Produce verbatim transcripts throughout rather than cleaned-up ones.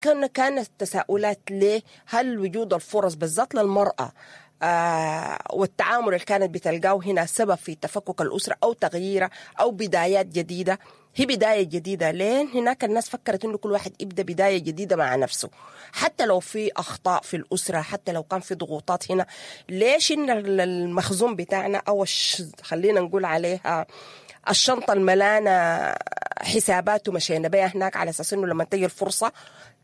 كان كانت تساؤلات ليه؟ هل وجود الفرص بالذات للمرأة آه والتعامل اللي كانت بتلقاه هنا سبب في تفكك الأسرة أو تغييرها أو بدايات جديدة؟ هي بداية جديدة. ليه هناك الناس فكرت إنه كل واحد يبدأ بداية جديدة مع نفسه، حتى لو في أخطاء في الأسرة، حتى لو كان في ضغوطات هنا. ليش إن المخزون بتاعنا أو الش... خلينا نقول عليها الشنطة الملانة حسابات ومشينا بيها هناك على أساس إنه لما تجي الفرصة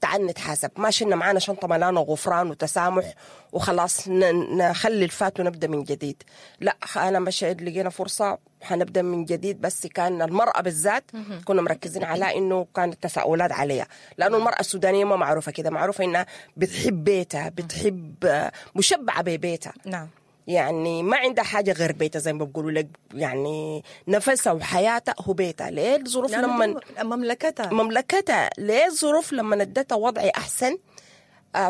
تعال نتحاسب؟ ما شلنا معانا شنطة ملانة غفران وتسامح وخلاص نخلي الفات ونبدأ من جديد. لا، أنا مشيت لقينا فرصة حنبدأ من جديد. بس كان المرأة بالذات كنا مركزين على إنه كانت تساؤلات عليها، لأنه المرأة السودانية ما معروفة كده، معروفة إنها بتحب بيتها، بتحب مشبعة ببيتها. نعم، يعني ما عندها حاجة غير بيتها زي ما بيقولوا لك، يعني نفسها وحياتها هو بيتها. ليه الظروف لما مملكتها مملكتها ليه الظروف لما ندتها وضعي أحسن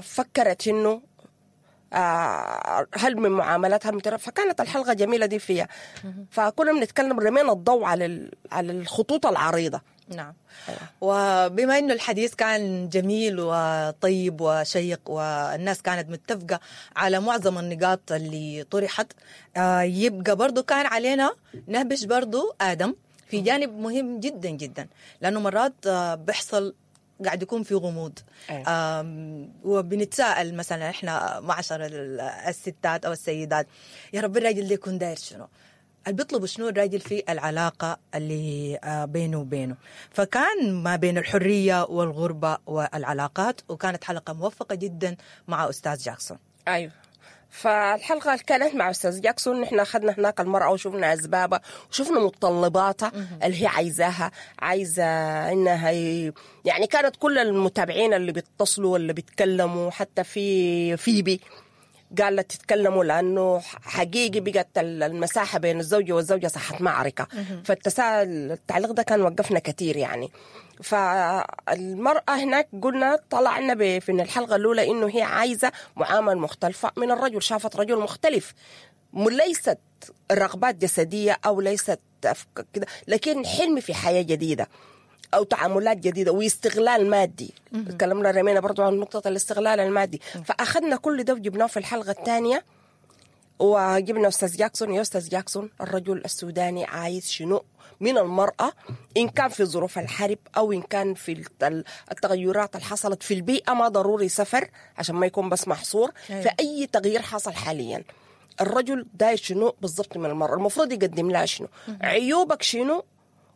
فكرت إنه هل من معاملات هل من ترى. فكانت الحلقة جميلة دي فيها. فكنا بنتكلم رمينا الضوء على على الخطوط العريضة. نعم. أيوة. وبما أنه الحديث كان جميل وطيب وشيق والناس كانت متفقة على معظم النقاط اللي طرحت، يبقى برضو كان علينا نهبش برضو آدم في جانب مهم جدا جدا، لأنه مرات بيحصل قاعد يكون في غموض. أيوة. وبنتساءل مثلا احنا معشر الستات أو السيدات، يا رب الراجل ده يكون داير شنو؟ اللي بيطلبوا شنو الراجل في العلاقة اللي بينه وبينه؟ فكان ما بين الحرية والغربة والعلاقات، وكانت حلقة موفقة جدا مع أستاذ جاكسون. أيوة. فالحلقة كانت مع أستاذ جاكسون، نحن أخذنا هناك المرأة وشفنا أسبابها وشفنا متطلباتها اللي هي عايزاها، عايزة إنها هي يعني كانت كل المتابعين اللي بيتصلوا واللي بيتكلموا، حتى في فيبي قالت تتكلموا لأنه حقيقي بقت المساحة بين الزوجة والزوجة صحت معركة. فالتساؤل التعليق ده كان وقفنا كثير يعني. فالمرأة هناك قلنا طلعنا في الحلقة الأولى إنه هي عايزة معاملة مختلفة من الرجل، شافت رجل مختلف، ليست رغبات جسدية أو ليست كده، لكن حلم في حياة جديدة أو تعاملات جديدة واستغلال مادي. تكلمنا رمينا برضو عن نقطة الاستغلال المادي. فأخذنا كل ده وجبناه في الحلقة الثانية، وجبنا أستاذ جاكسون. يا أستاذ جاكسون، الرجل السوداني عايز شنو من المرأة، إن كان في ظروف الحرب أو إن كان في التغيرات اللي حصلت في البيئة، ما ضروري سفر عشان ما يكون بس محصور. أيوة. فأي تغيير حصل حاليا الرجل داير شنو بالضبط من المرأة، المفروض يقدم لها شنو، عيوبك شنو،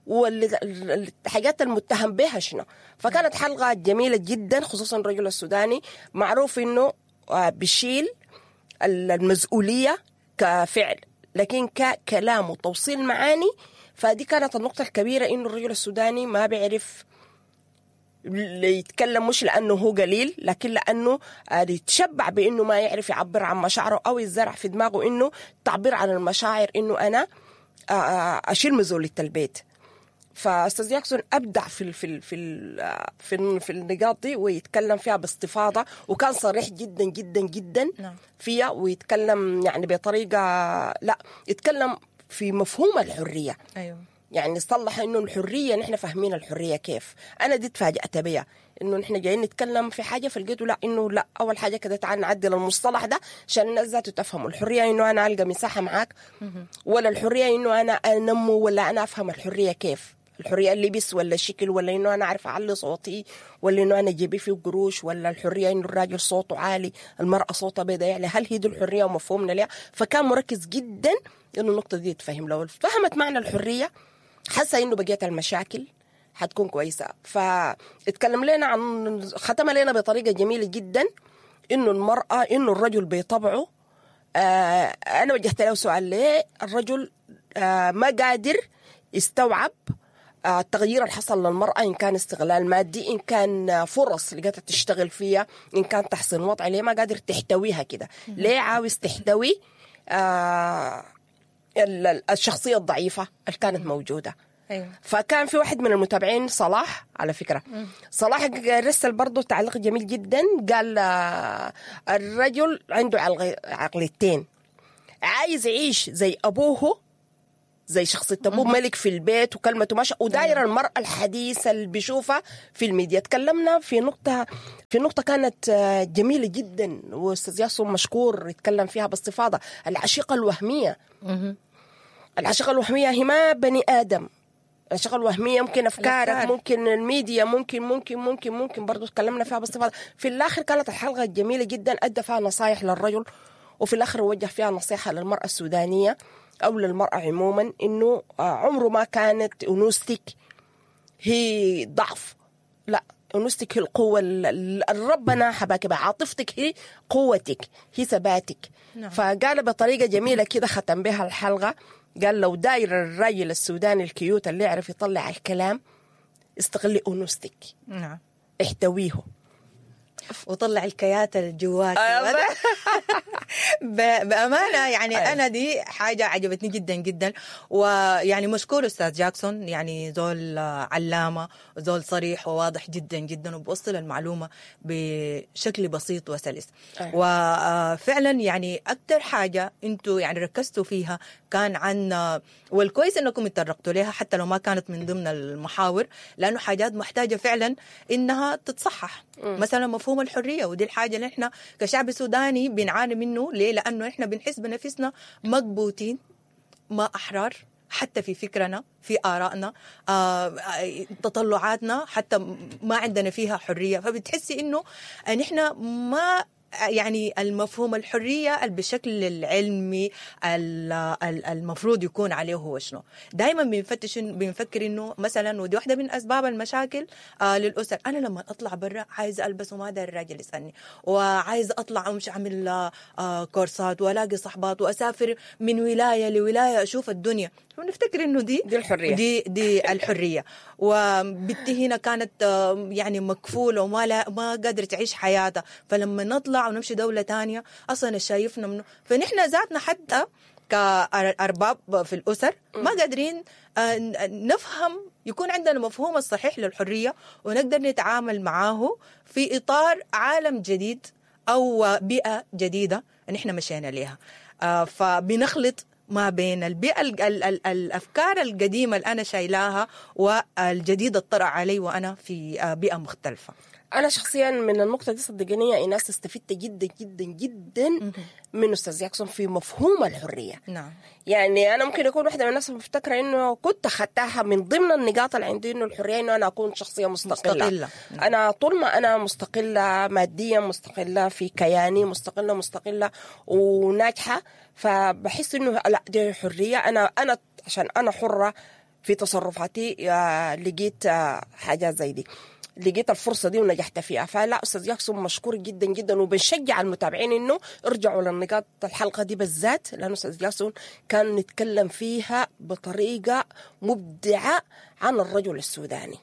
والحاجات المتهم بها شنو. فكانت حلقة جميلة جدا، خصوصا الرجل السوداني معروف إنه بيشيل المسؤولية كفعل، لكن ككلام وتوصيل معاني. فدي كانت النقطة الكبيرة، إنه الرجل السوداني ما بيعرف يتكلم، مش لأنه هو قليل، لكن لأنه يتشبع بإنه ما يعرف يعبر عن مشاعره، أو يزرع في دماغه إنه تعبير عن المشاعر إنه أنا أشيل مسؤولية البيت. فأستاذ جاكسون أبدع في في في في في النقاط دي، ويتكلم فيها باستفاضة، وكان صريح جدا جدا جدا فيها، ويتكلم يعني بطريقة، لا يتكلم في مفهوم الحرية. أيوة. يعني صلح إنه الحرية نحن فاهمين الحرية كيف. أنا دي تفاجأت بيها، إنه نحن جايين نتكلم في حاجة فلقيته لا، إنه لا، أول حاجة كده تعال نعدل المصطلح ده عشان الناس ذاته تفهموا. الحرية إنه أنا ألقى مساحة معاك، ولا الحرية إنه أنا أنمو، ولا أنا أفهم الحرية كيف. الحرية اللبس ولا الشكل، ولا إنه أنا أعرف أعلي صوتي، ولا إنه أنا جيبي فيه قروش، ولا الحرية إنه الراجل صوته عالي المرأة صوتها بيضاء. يعني هل هي دي الحرية ومفهومنا ليها؟ فكان مركز جدا إنه النقطة دي تفهم. لو فهمت معنى الحرية حاسة إنه بقيت المشاكل حتكون كويسة. فاتكلم لنا عن، ختم لنا بطريقة جميلة جدا إنه المرأة، إنه الرجل بطبعه، آه أنا وجهت له سؤال، ليه الرجل آه ما قادر يستوعب التغيير اللي حصل للمرأة، إن كان استغلال مادي، إن كان فرص لقيتها تشتغل فيها، إن كان تحسين وضع، ليه ما قادر تحتويها كده؟ ليه عاوز تحتوي آه الشخصية الضعيفة اللي كانت موجودة؟ أيوة. فكان في واحد من المتابعين صلاح، على فكرة صلاح رسل برضو تعليق جميل جدا، قال آه الرجل عنده عقليتين، عايز يعيش زي أبوه زي شخصية ابوه ملك في البيت وكلمته ماشية، وداير المراة الحديثة اللي بيشوفها في الميديا. تكلمنا في نقطة في نقطة كانت جميلة جدا، واستاذ ياسر مشكور يتكلم فيها باستفاضة، العشيقه الوهمية. العشيقه الوهمية هي ما بني ادم، العشيقه الوهمية ممكن افكارك، الأفكار. ممكن الميديا، ممكن ممكن ممكن ممكن برضو تكلمنا فيها باستفاضة. في الاخر كانت الحلقة جميلة جدا، ادى فيها نصايح للرجل، وفي الاخر وجه فيها نصيحة للمراة السودانية او للمراة عموما، انه عمره ما كانت انوثتك هي ضعف، لا، انوثتك هي القوة اللي ربنا حباك بها، عاطفتك هي قوتك، هي ثباتك. نعم. فقال بطريقة جميلة كده ختم بها الحلقة، قال لو داير الراجل السوداني ال cute اللي يعرف يطلع الكلام، استغلي انوثتك. نعم. احتويه وطلع الكيات الجوات. بأمانة يعني أيوة. أنا دي حاجة عجبتني جدا جدا، ويعني مشكور أستاذ جاكسون، يعني زول علامة وزول صريح وواضح جدا جدا، وبوصل المعلومة بشكل بسيط وسلس. أيوة. وفعلا يعني أكثر حاجة أنتوا يعني ركزتوا فيها كان عن، والكويس أنكم تطرقتوا لها حتى لو ما كانت من ضمن المحاور، لأنه حاجات محتاجة فعلا إنها تتصحح. م. مثلا مفهوم الحرية، ودي الحاجة اللي احنا كشعب سوداني بنعاني منه. ليه؟ لأنه احنا بنحس بنفسنا مكبوتين، ما أحرار حتى في فكرنا، في آرائنا، آه، تطلعاتنا، حتى ما عندنا فيها حرية. فبتحسي إنه نحن ما يعني المفهوم الحرية بالشكل العلمي المفروض يكون عليه هو شنو. دايما بنفتش بنفكر انه مثلا، ودي واحدة من اسباب المشاكل آه للاسر، انا لما اطلع برا عايزه البس وما داير الراجل يسالني، وعايزه اطلع ومش اعمل آه كورسات والاقي صحبات واسافر من ولاية لولاية اشوف الدنيا، ونفتكر انه دي دي الحرية، دي دي الحرية. وبنتي هنا كانت يعني مكفوله وما لا ما قادرة تعيش حياتها، فلما نطلع ونمشي دولة تانية أصلاً شايفنا منه. فنحن ذاتنا حتى كأرباب في الأسر ما قادرين نفهم، يكون عندنا مفهوم الصحيح للحرية ونقدر نتعامل معاه في إطار عالم جديد أو بيئة جديدة نحن مشينا ليها. فبنخلط ما بين البيئة ال ال ال الأفكار القديمة اللي أنا شايلاها والجديدة الطرأ علي وأنا في بيئة مختلفة. أنا شخصيا من النقطة دي صدقني يا إيناس استفدت جدا جدا جدا من أستاذ جاكسون في مفهوم الحرية. نعم. يعني أنا ممكن أكون واحدة من الناس مفتكرة إنه كنت أخدتها من ضمن النقاط اللي عندي إنه الحرية إنه أنا أكون شخصية مستقلة. مستقلة. نعم. أنا طول ما أنا مستقلة ماديا، مستقلة في كياني، مستقلة مستقلة وناجحة، فبحس إنه لا دي حرية. أنا أنا عشان أنا حرة في تصرفاتي لقيت حاجات زي دي، لقيت الفرصة دي ونجحت فيها. فلا أستاذ جاكسون مشكور جدا جدا، وبنشجع المتابعين إنه ارجعوا للنقاط الحلقة دي بالذات، لأنه أستاذ جاكسون كان نتكلم فيها بطريقة مبدعة عن الرجل السوداني.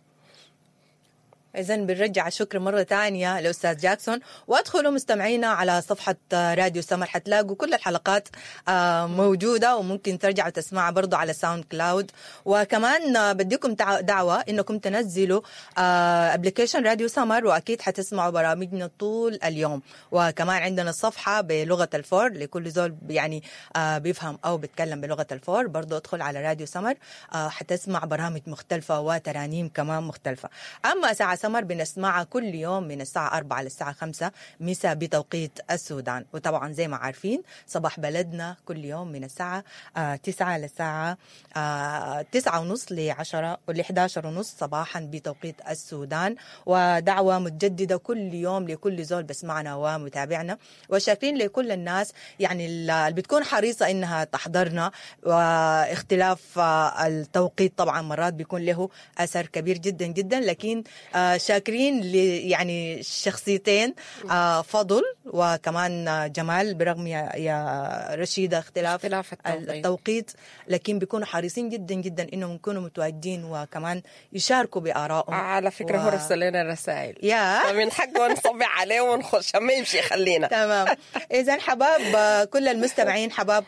إذن بنرجع الشكر مرة تانية لأستاذ جاكسون، وادخلوا مستمعينا على صفحة راديو سمر، حتلاقوا كل الحلقات موجودة وممكن ترجعوا تسمعها برضو على SoundCloud. وكمان بديكم دعوة إنكم تنزلوا application راديو سمر، وأكيد حتسمعوا برامجنا طول اليوم. وكمان عندنا صفحة بلغة الفور لكل زول يعني بيفهم أو بيتكلم بلغة الفور، برضو ادخل على راديو سمر حتسمع برامج مختلفة وترانيم كمان مختلفة. أما ساعة سمر بنسمعها كل يوم من الساعة أربعة للساعة خمسة مساء بتوقيت السودان. وطبعا زي ما عارفين صباح بلدنا كل يوم من الساعة تسعة للساعة تسعة ونص لعشرة ولحداشر ونص صباحا بتوقيت السودان. ودعوة متجددة كل يوم لكل زول بسمعنا ومتابعنا، وشاكرين لكل الناس يعني اللي بتكون حريصة إنها تحضرنا. واختلاف التوقيت طبعا مرات بيكون له أثر كبير جدا جدا، لكن شاكرين ل يعني شخصيتين، فضل وكمان جمال، برغم يا, يا رشيدة اختلاف, اختلاف التوقيت. التوقيت، لكن بيكونوا حريصين جدا جدا انهم يكونوا متواجدين وكمان يشاركوا بآرائهم. على فكرة و... هو رسل لنا رسائل يا فمن حقه نصبع عليه ونخش ما يمشي خلينا. تمام. اذا حباب كل المستمعين، حباب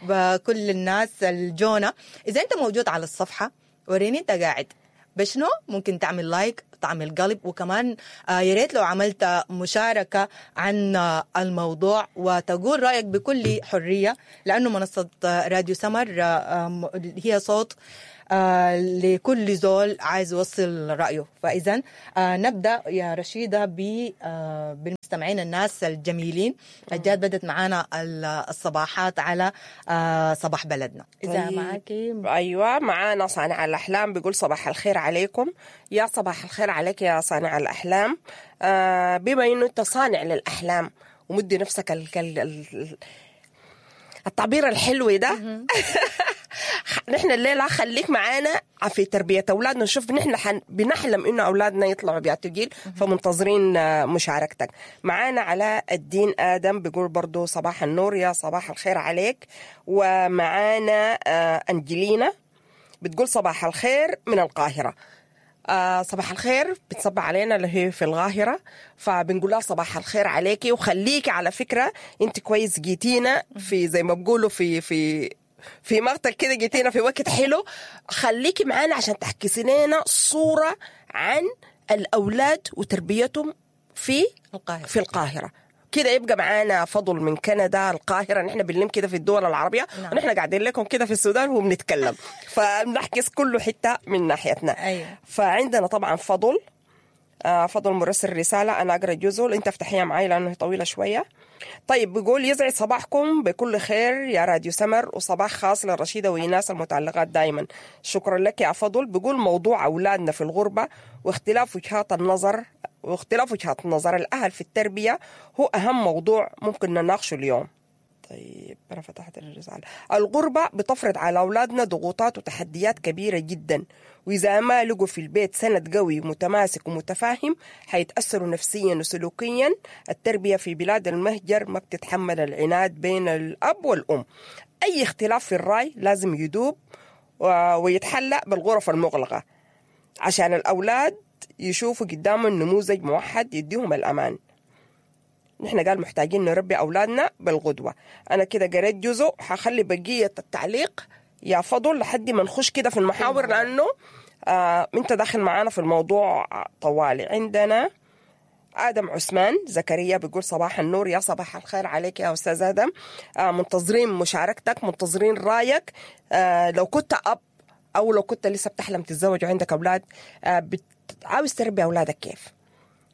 كل الناس الجونة، اذا انت موجود على الصفحة وريني انت قاعد بشنو؟ ممكن تعمل like، تعمل قلب، وكمان آه يا ريت لو عملت مشاركة عن آه الموضوع وتقول رأيك بكل حرية، لأنه منصة آه راديو سمر آه هي صوت آه لكل زول عايز يوصل رأيه. فإذا آه نبدأ يا رشيدة آه بالمستمعين الناس الجميلين الجاد بدت معانا الصباحات على آه صباح بلدنا. إذا طيب. معاكي أيوة معانا صانع الأحلام بيقول صباح الخير عليكم. يا صباح الخير عليك يا صانع الأحلام. آه بما إنه أنت صانع للأحلام ومدي نفسك ال ال ال التعبير الحلو ده نحن الليلة خليك معانا في تربية أولادنا، نشوف نحن حن بنحلم إنه أولادنا يطلعوا بيعطوا جيل، فمنتظرين مشاركتك معانا. علاء الدين آدم بيقول برضو صباح النور، يا صباح الخير عليك. ومعانا أنجلينا بتقول صباح الخير من القاهرة. آه صباح الخير، بتصبح علينا اللي هي في القاهرة، فبنقول لها صباح الخير عليكي وخليكي على فكرة انت كويس جيتينا في زي ما بقولوا في في في مقتل كده، جيتينا في وقت حلو. خليكي معانا عشان تحكي لنا صورة عن الأولاد وتربيتهم في القاهرة. في القاهرة كده يبقى معانا فضل من كندا، القاهرة، نحن بنلم كده في الدول العربية. نعم. ونحن قاعدين لكم كده في السودان وبنتكلم فبنحكي كله حتة من ناحيتنا. أيوة. فعندنا طبعا فضل آه فضل مرسل رسالة، أنا أقرأ جزء أنت افتحيها معي لأنه طويلة شوية. طيب بيقول يسعد صباحكم بكل خير يا راديو سمر، وصباح خاص للرشيدة وإيناس المتعلقات دائما. شكرا لك يا فضل. بيقول موضوع أولادنا في الغربة واختلاف وجهات النظر واختلاف وجهات النظر الأهل في التربية هو أهم موضوع ممكن نناقشه اليوم. طيب أنا فتحت الرسالة. الغربة بتفرض على أولادنا ضغوطات وتحديات كبيرة جدا، وإذا ما لقوا في البيت سند قوي متماسك ومتفاهم حيتأثروا نفسيا وسلوكيا. التربية في بلاد المهجر ما بتتحمل العناد بين الأب والأم. أي اختلاف في الرأي لازم يدوب ويتحلى بالغرف المغلقة عشان الأولاد يشوفوا قدامهم نموذج موحد يديهم الأمان. نحن قال محتاجين نربي أولادنا بالغدوة. أنا كده قريت جزء، حخلي بقية التعليق يا فضل لحد ما نخش كده في المحاور، لأنه آه انت داخل معانا في الموضوع طوالي. عندنا آدم عثمان زكريا بيقول صباح النور، يا صباح الخير عليك يا أستاذ آدم. آه منتظرين مشاركتك، منتظرين رأيك. آه لو كنت أب أو لو كنت لسه بتحلم تتزوج وعندك أولاد، آه عاوز تربي أولادك كيف؟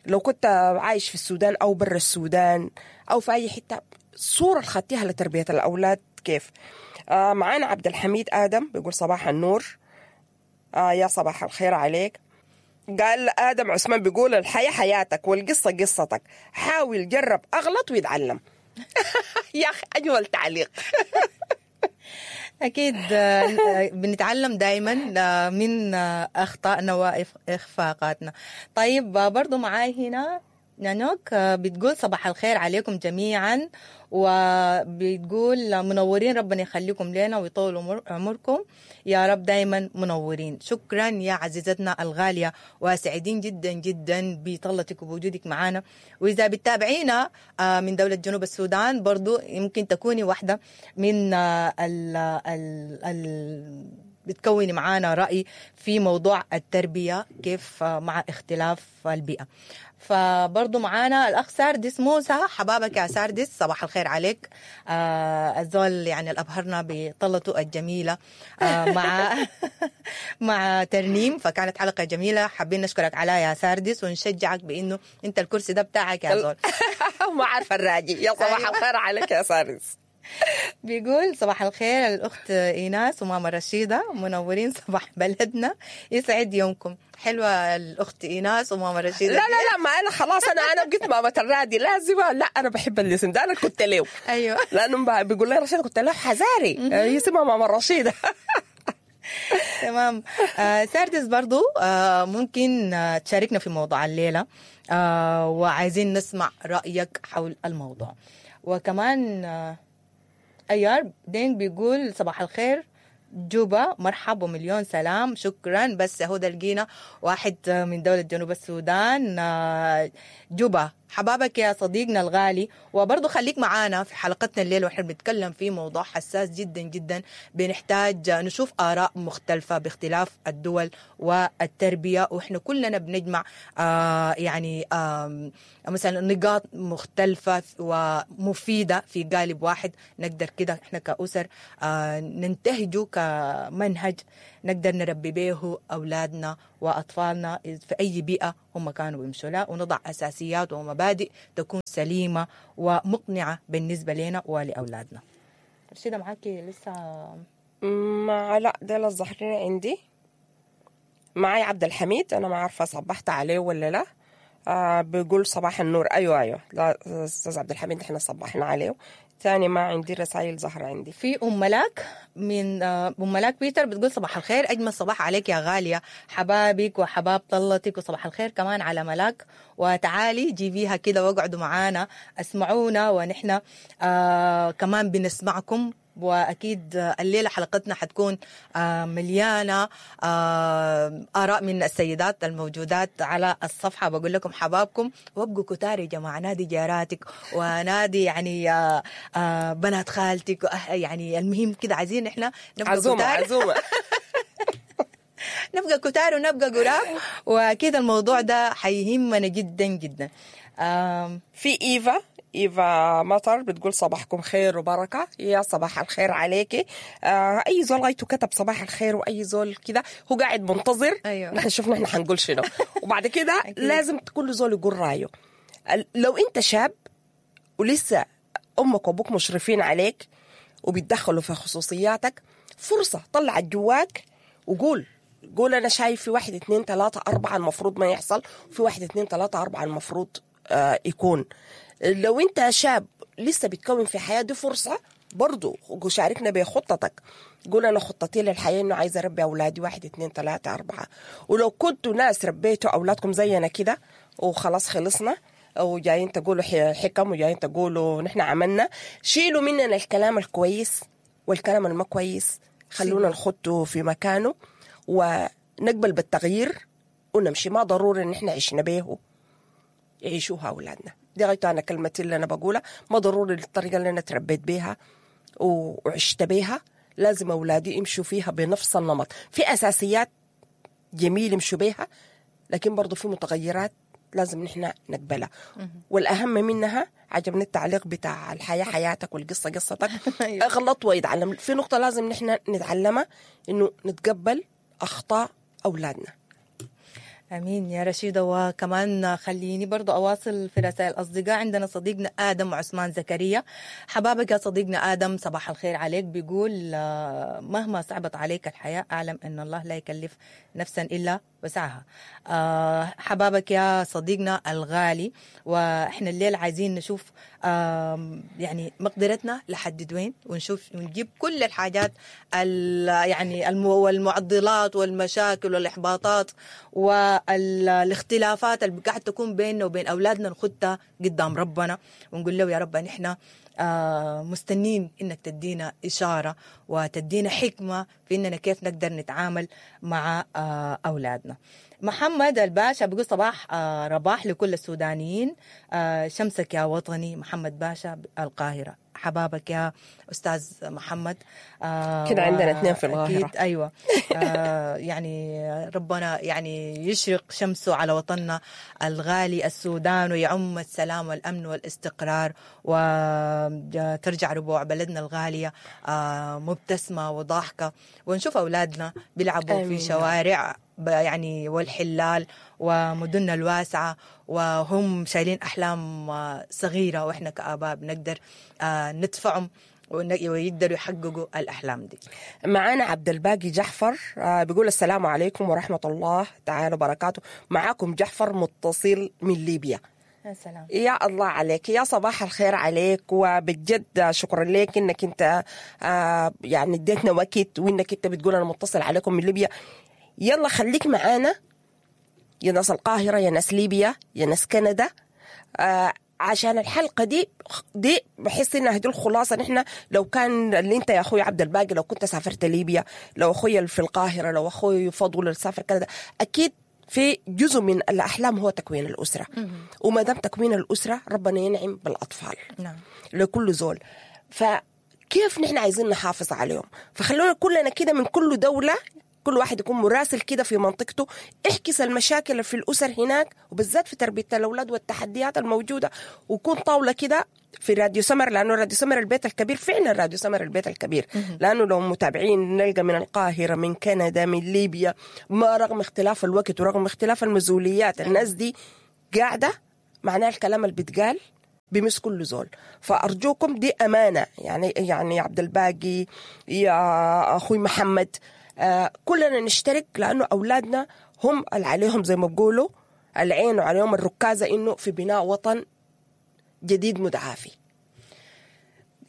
لو كنت عايش في السودان أو برا السودان أو في أي حتة، الصورة اللي خدتيها لتربية الأولاد كيف؟ آه معانا عبد الحميد آدم بيقول صباح النور، آه يا صباح الخير عليك. قال آدم عثمان بيقول الحياة حياتك والقصة قصتك، حاول جرب أغلط ويتعلم. يا أخي أجمل تعليق. أكيد بنتعلم دايما من أخطائنا وإخفاقاتنا. طيب برضو معاي هنا نانوك بتقول صباح الخير عليكم جميعا، وبتقول منورين، ربنا يخليكم لنا ويطول عمركم يا رب، دايما منورين. شكرا يا عزيزتنا الغالية، وسعيدين جدا جدا بطلتك وبوجودك معنا. وإذا بتتابعينا من دولة جنوب السودان برضو يمكن تكوني واحدة من ال ال ال بتكوني معانا رأي في موضوع التربية كيف مع اختلاف البيئة. فبرضو معانا الأخ ساردس موسى، حبابك يا ساردس، صباح الخير عليك. آه الزول يعني الأبهرنا بطلته الجميلة آه مع مع ترنيم، فكانت حلقة جميلة. حابين نشكرك عليها يا ساردس ونشجعك بإنه أنت الكرسي ده بتاعك يا زول. ما عارفة الراجي. يا صباح الخير عليك يا ساردس. بيقول صباح الخير الأخت إيناس وماما رشيدة، منورين صباح بلدنا، يسعد يومكم. حلوة الأخت إيناس وماما رشيدة. لا لا لا ما أنا خلاص أنا أنا بقيت ماما الرادي لازم. لا أنا بحب الاسم ده، أنا كنت له. أيوة. لأنه بيقول لي رشيدة كنت له حزاري يسمى ماما رشيدة. تمام. آه ساردس برضو آه ممكن آه تشاركنا في موضوع الليلة، آه وعايزين نسمع رأيك حول الموضوع. وكمان آه أيار دين بيقول صباح الخير جوبا، مرحب ومليون سلام. شكرا. بس هو ده لقينا واحد من دولة جنوب السودان، جوبا، حبابك يا صديقنا الغالي، وبرضو خليك معانا في حلقتنا الليلة واحنا بنتكلم في موضوع حساس جدا جدا، بنحتاج نشوف آراء مختلفة باختلاف الدول والتربية، واحنا كلنا بنجمع آه يعني آه مثلا نقاط مختلفة ومفيدة في قالب واحد، نقدر كده احنا كأسر آه ننتهجه كمنهج نقدر نربي به أولادنا وأطفالنا في أي بيئة هم كانوا بيمشوا لها، ونضع أساسيات ومبادئ تكون سليمة ومقنعة بالنسبة لنا ولأولادنا. رشيدة معاكي لسه؟ مع لا ده الظاهرين عندي. معي عبد الحميد، أنا ما عارفة صبحت عليه ولا لا. آه بيقول صباح النور. أيوة أيوة، لا أستاذ عبد الحميد إحنا صبحنا عليه. ثاني ما عندي رسائل ظهر عندي. في أم ملاك من أم ملاك بيتر بتقول صباح الخير، أجمل صباح عليك يا غالية، حبابك وحباب طلتك، وصباح الخير كمان على ملاك، وتعالي جيبيها كده واقعدوا معانا اسمعونا، ونحن آه كمان بنسمعكم. وأكيد الليلة حلقتنا حتكون مليانة آراء من السيدات الموجودات على الصفحة. بقول لكم حبابكم وابقوا كتار يا جماعة، نادي جاراتك ونادي يعني بنات خالتك، يعني المهم كده عايزين احنا نبقى عزومة كتار. عزومة نبقى كتار ونبقى قراب، وأكيد الموضوع ده حيهمنا جدا جدا. في إيفا إيفا مطر بتقول صباحكم خير وبركة. يا صباح الخير عليكي. آه أي زول غايته كتب صباح الخير، وأي زول كده هو قاعد منتظر. أيوة. نحن شوف نحن حنقول شنو وبعد كده لازم كل زول يقول رأيه. لو أنت شاب ولسه أمك وأبوك مشرفين عليك وبيتدخلوا في خصوصياتك، فرصة طلع جواك وقول قول أنا شايف في واحد اتنين تلاتة أربعة المفروض ما يحصل، في واحد اتنين تلاتة أربعة المفروض آه يكون. لو انت شاب لسه بتكون في حياة، دي فرصة برضو شاركنا بخطتك، قول أنا خطتي للحياة إنه عايزة أربي أولادي واحد اتنين تلاتة أربعة. ولو كنتوا ناس ربيتوا أولادكم زينا كده وخلاص خلصنا وجايين تقولوا حكم وجايين تقولوا نحن عملنا، شيلوا مننا الكلام الكويس والكلام الما كويس، خلونا نخطه في مكانه ونقبل بالتغيير ونمشي. ما ضروري إن نحن عشنا به يعيشوها أولادنا. دي غايته أنا كلمتي اللي أنا بقولها، ما ضروري الطريقة اللي أنا تربيت بيها وعشت بيها لازم أولادي يمشوا فيها بنفس النمط. في أساسيات جميل يمشوا بيها، لكن برضو في متغيرات لازم نحن نقبلها. والأهم منها عجبني التعليق بتاع الحياة حياتك والقصة قصتك. اغلط ويتعلم. في نقطة لازم نحن نتعلمها، إنه نتقبل أخطاء أولادنا. أمين يا رشيدة. وكمان خليني برضو أواصل في رسائل الأصدقاء. عندنا صديقنا آدم عثمان زكريا، حبابك يا صديقنا آدم، صباح الخير عليك. بيقول مهما صعبت عليك الحياة أعلم أن الله لا يكلف نفسا إلا وسعها. حبابك يا صديقنا الغالي، وإحنا الليل عايزين نشوف يعني مقدرتنا لحد وين، ونشوف ونجيب كل الحاجات يعني والمعضلات والمشاكل والإحباطات والاختلافات اللي قاعد تكون بيننا وبين أولادنا، نخدها قدام ربنا ونقول له يا رب نحن مستنين إنك تدينا إشارة وتدينا حكمة في إننا كيف نقدر نتعامل مع أولادنا. محمد الباشا بيقول صباح رباح لكل السودانيين، شمسك يا وطني. محمد باشا القاهرة، حبابك يا أستاذ محمد. آه كده عندنا اثنين في القاهرة. أكيد أيوة. آه يعني ربنا يعني يشرق شمسه على وطننا الغالي السودان، ويعم السلام والأمن والاستقرار، وترجع ربوع بلدنا الغالية آه مبتسمة وضاحكة، ونشوف أولادنا بيلعبوا في شوارع يعني والحلال ومدننا الواسعة، وهم شايلين أحلام صغيرة، وإحنا كآباء بنقدر ندفعهم ويقدروا يحققوا الأحلام دي. معانا عبد الباقي جعفر بيقول السلام عليكم ورحمة الله تعالى وبركاته. معاكم جعفر متصل من ليبيا. يا سلام، يا الله عليك، يا صباح الخير عليك، وبجد شكرا لك انك انت يعني اديتنا وقت، وانك انت بتقول انا متصل عليكم من ليبيا. يلا خليك معانا يا ناس القاهرة، يا ناس ليبيا، يا ناس كندا، آه عشان الحلقة دي دي بحس إنها دي الخلاصة. نحن لو كان اللي أنت يا أخوي عبد الباقي لو كنت سافرت ليبيا، لو أخوي في القاهرة، لو أخوي فضل سافر كندا، أكيد في جزء من الاحلام هو تكوين الاسرة، وما دام تكوين الاسرة ربنا ينعم بالاطفال. نعم. لكل زول. فكيف نحن عايزين نحافظ عليهم؟ فخلونا كلنا كده من كل دولة، كل واحد يكون مراسل كده في منطقته، احكس المشاكل في الأسر هناك، وبالذات في تربية الأولاد والتحديات الموجودة، ويكون طاولة كده في راديو سمر، لأنه راديو سمر البيت الكبير، فعلا راديو سمر البيت الكبير، لأنه لو متابعين نلقى من القاهرة، من كندا، من ليبيا، ما رغم اختلاف الوقت ورغم اختلاف المسؤوليات، الناس دي قاعدة، معناها الكلام اللي بيتقال بمس كل زول. فأرجوكم دي أمانة، يعني يعني عبد الباقي، يا أخوي محمد، آه كلنا نشترك، لأنه أولادنا هم اللي عليهم زي ما بقولوا العين وعليهم الركازة إنه في بناء وطن جديد متعافي.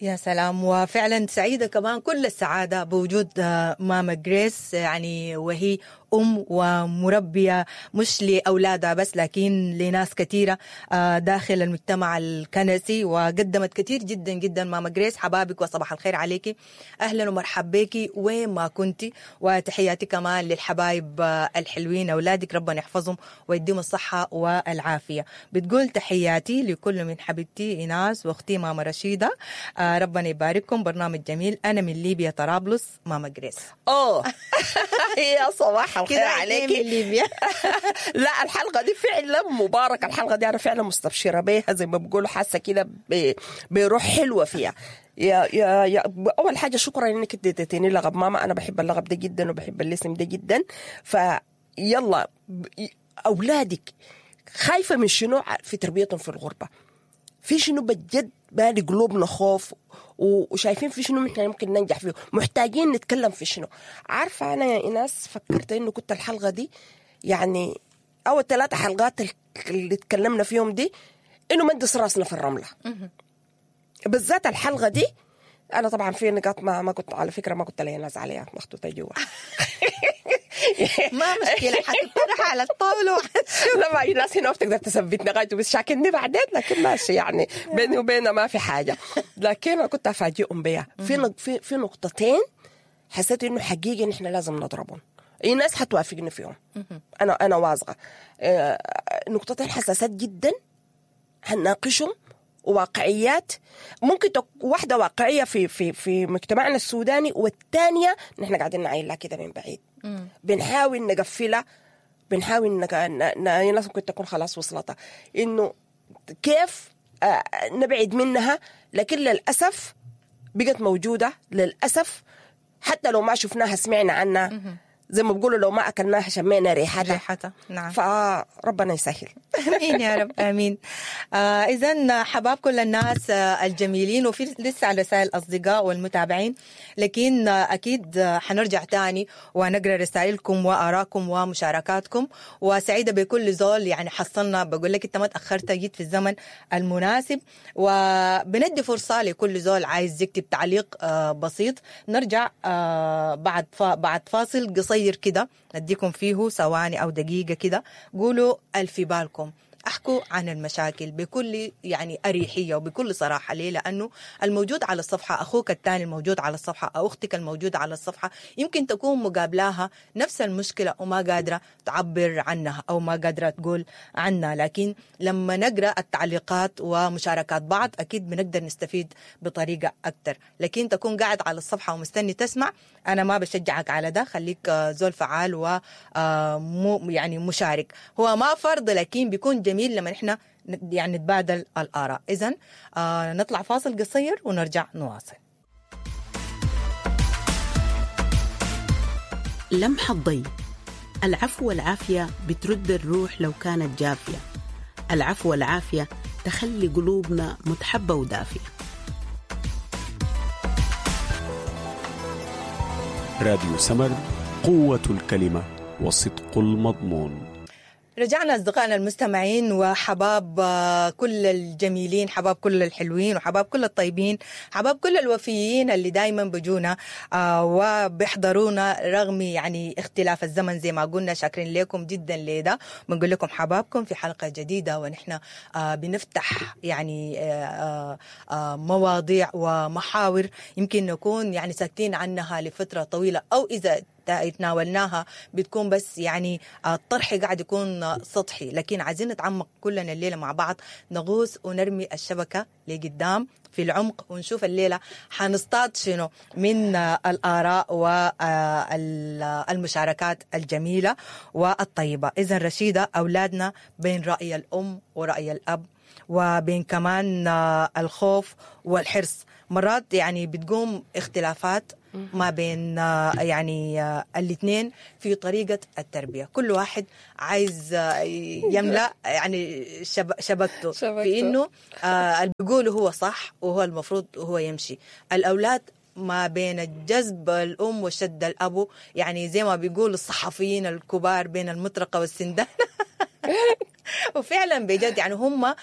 يا سلام. وفعلا سعيدة كمان كل السعادة بوجود ماما جريس، يعني وهي أم ومربية مش لأولادها بس لكن لناس كثيرة داخل المجتمع الكنسي، وقدمت كثير جدا جدا. ماما جريس حبابك وصباح الخير عليك، أهلا ومرحبا بك وين ما كنتي، وتحياتي كمان للحبايب الحلوين أولادك، ربنا يحفظهم ويديهم الصحة والعافية. بتقول تحياتي لكل من حبيبتي إيناس وأختي ماما رشيدة، ربنا يبارككم، برنامج جميل. أنا من ليبيا طرابلس، ماما جريس. أوه يا صباح الخير عليكي. ليبيا. لا الحلقة دي فعلا مباركة، الحلقة دي أنا فعلا مستبشرة بيها زي ما بقولوا، حاسة كده بروح حلوة فيها. يا يا يا أول حاجة شكرا إنك اديتيني لقب ماما، أنا بحب اللقب ده جدا وبحب الاسم ده جدا. فيلا أولادك خايفة من شنو في تربيتهم في الغربة؟ في شنو بجد بالي قلوبنا خوف وشايفين في شنو احنا ممكن ننجح فيه، محتاجين نتكلم في شنو. عارفة أنا يا إيناس فكرت إنه كنت الحلقة دي يعني أول ثلاثة حلقات اللي تكلمنا فيهم دي إنه ما ندس راسنا في الرملة، بالذات الحلقة دي. أنا طبعا في نقاط ما ما كنت على فكرة ما كنت لي ناس عليها مخطوطة جوا. ما مشكلة حتطرح على الطاولة. لا ما الناس هنا بتقدر تثبتني غايته بس شاكلني بعدين، لكن ماشي يعني بيني وبينها ما في حاجة. لكن أنا كنت أفاجئهم بيها في في في نقطتين حسيت إنه حقيقي نحن لازم نضربهم. الناس حتوافقني فيهم، أنا أنا واثقة. نقطتين حساسات جدا هنناقشهم، واقعيات ممكن تك... واحدة واقعية في في في مجتمعنا السوداني، والثانية نحن قاعدين نعيلها كده من بعيد، بنحاول نقفلها، بنحاول نق... ن... الناس ممكن تكون خلاص وصلتها إنه كيف آه نبعد منها، لكن للأسف بقت موجودة للأسف، حتى لو ما شفناها سمعنا عنها، زي ما بقولوا لو ما أكلناها شمينا ريحتها. ريحتها نعم. فربنا يسهل. آمين يا رب آمين. آه إذن حباب كل الناس آه الجميلين، وفي لسه على رسائل الأصدقاء والمتابعين، لكن آه أكيد آه حنرجع تاني ونقرأ رسائلكم وآراءكم ومشاركاتكم. وسعيدة بكل زول يعني حصلنا، بقول لك أنت ما تأخرت، جيت في الزمن المناسب، وبندي فرصة لكل زول عايز يكتب تعليق آه بسيط. نرجع آه بعد بعد فاصل قصير كده نديكم فيه ثواني أو دقيقة كده، قولوا الفي بالكم، احكوا عن المشاكل بكل يعني أريحية وبكل صراحة. ليه؟ لأنه الموجود على الصفحة، أخوك الثاني الموجود على الصفحة أو أختك الموجودة على الصفحة، يمكن تكون مقابلاها نفس المشكلة وما قادرة تعبر عنها أو ما قادرة تقول عنها. لكن لما نقرأ التعليقات ومشاركات بعض أكيد بنقدر نستفيد بطريقة أكتر. لكن تكون قاعد على الصفحة ومستني تسمع، أنا ما بشجعك على ده. خليك زول فعال و يعني مشارك. هو ما فرض، لكن بيكون جميل لما نحن يعني نتبادل الآراء. إذن آه نطلع فاصل قصير ونرجع نواصل. لمحة ضي. العفو والعافية بترد الروح لو كانت جافية. العفو والعافية تخلي قلوبنا متحبة ودافية. راديو سمر، قوة الكلمة وصدق المضمون. رجعنا أصدقائنا المستمعين وحباب كل الجميلين، حباب كل الحلوين، وحباب كل الطيبين، حباب كل الوفيين اللي دايما بجونا وبيحضرونا رغم يعني اختلاف الزمن زي ما قلنا. شاكرين لكم جدا لده، بنقول لكم حبابكم في حلقة جديدة، ونحن بنفتح يعني مواضيع ومحاور يمكن نكون يعني ساكتين عنها لفترة طويلة، أو إذا اتناولناها بتكون بس يعني الطرح قاعد يكون سطحي، لكن عايزين نتعمق كلنا الليلة مع بعض، نغوص ونرمي الشبكة لقدام في العمق ونشوف الليلة حنصطاد شنو من الآراء والمشاركات الجميلة والطيبة. إذن رشيدة، أولادنا بين رأي الأم ورأي الأب، وبين كمان الخوف والحرص، مرات يعني بتقوم اختلافات ما بين يعني الاثنين في طريقة التربية. كل واحد عايز يملأ يعني شبكته في إنه اللي بيقوله هو صح وهو المفروض هو يمشي. الأولاد ما بين الجذب الأم وشد الأبو، يعني زي ما بيقول الصحفيين الكبار بين المطرقة والسندان. وفعلا بجد يعني هم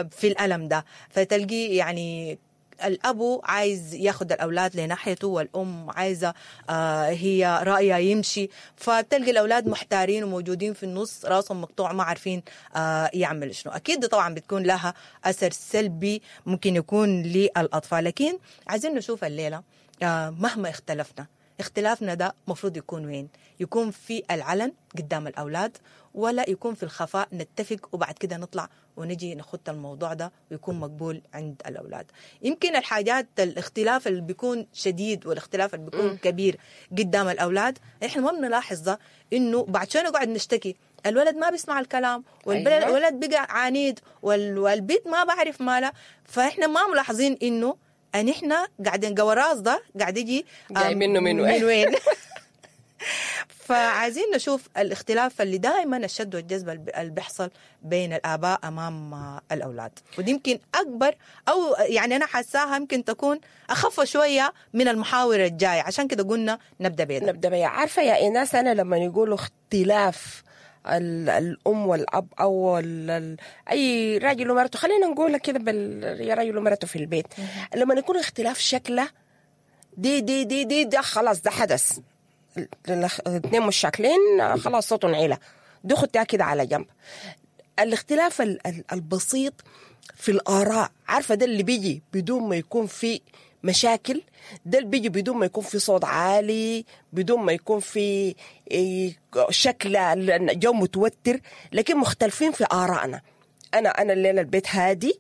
في الألم ده، فتلقي يعني الأبو عايز ياخد الأولاد لناحيته والأم عايزة آه هي رأيها يمشي، فتلقي الأولاد محتارين وموجودين في النص، راسهم مقطوع ما عارفين آه يعملوا شنو. أكيد طبعا بتكون لها أثر سلبي ممكن يكون للأطفال، لكن عايزين نشوف الليلة آه مهما اختلفنا، اختلافنا ده مفروض يكون وين؟ يكون في العلن قدام الأولاد، ولا يكون في الخفاء نتفق وبعد كده نطلع ونجي نخط الموضوع ده ويكون مقبول عند الأولاد؟ يمكن الحاجات الاختلاف اللي بيكون شديد والاختلاف اللي بيكون م. كبير قدام الأولاد، احنا ما بنلاحظ ده، إنه بعد شوي نقعد نشتكي الولد ما بيسمع الكلام، والولد بقى عنيد، والبيت ما بعرف ماله، فإحنا ما ملاحظين إنه أن إحنا قاعدين قوراص ده قاعد يجي جاي منه من وين, من وين. فعايزين نشوف الاختلاف اللي دائما الشد والجذب اللي بيحصل بين الآباء أمام الأولاد، ودي يمكن أكبر، أو يعني أنا حاساها يمكن تكون أخف شوية من المحاور الجاية، عشان كده قلنا نبدأ بيها. نبدأ بيها. عارفة يا إيناس، أنا لما يقولوا اختلاف الأم والأب أو أي راجل ومرته، خلينا نقولها كده بال يا راجل ومرته في البيت، لما يكون اختلاف شكله دي دي دي دي ده خلاص ده حدث، الاثنين مش شاكلين خلاص صوتهم عيلة، دي خدتها كده على جنب. الاختلاف البسيط في الآراء، عارفة ده اللي بيجي بدون ما يكون في مشاكل، ده اللي بيجي بدون ما يكون في صوت عالي، بدون ما يكون في شكل جو متوتر، لكن مختلفين في آرائنا. أنا أنا الليلة البيت هادي،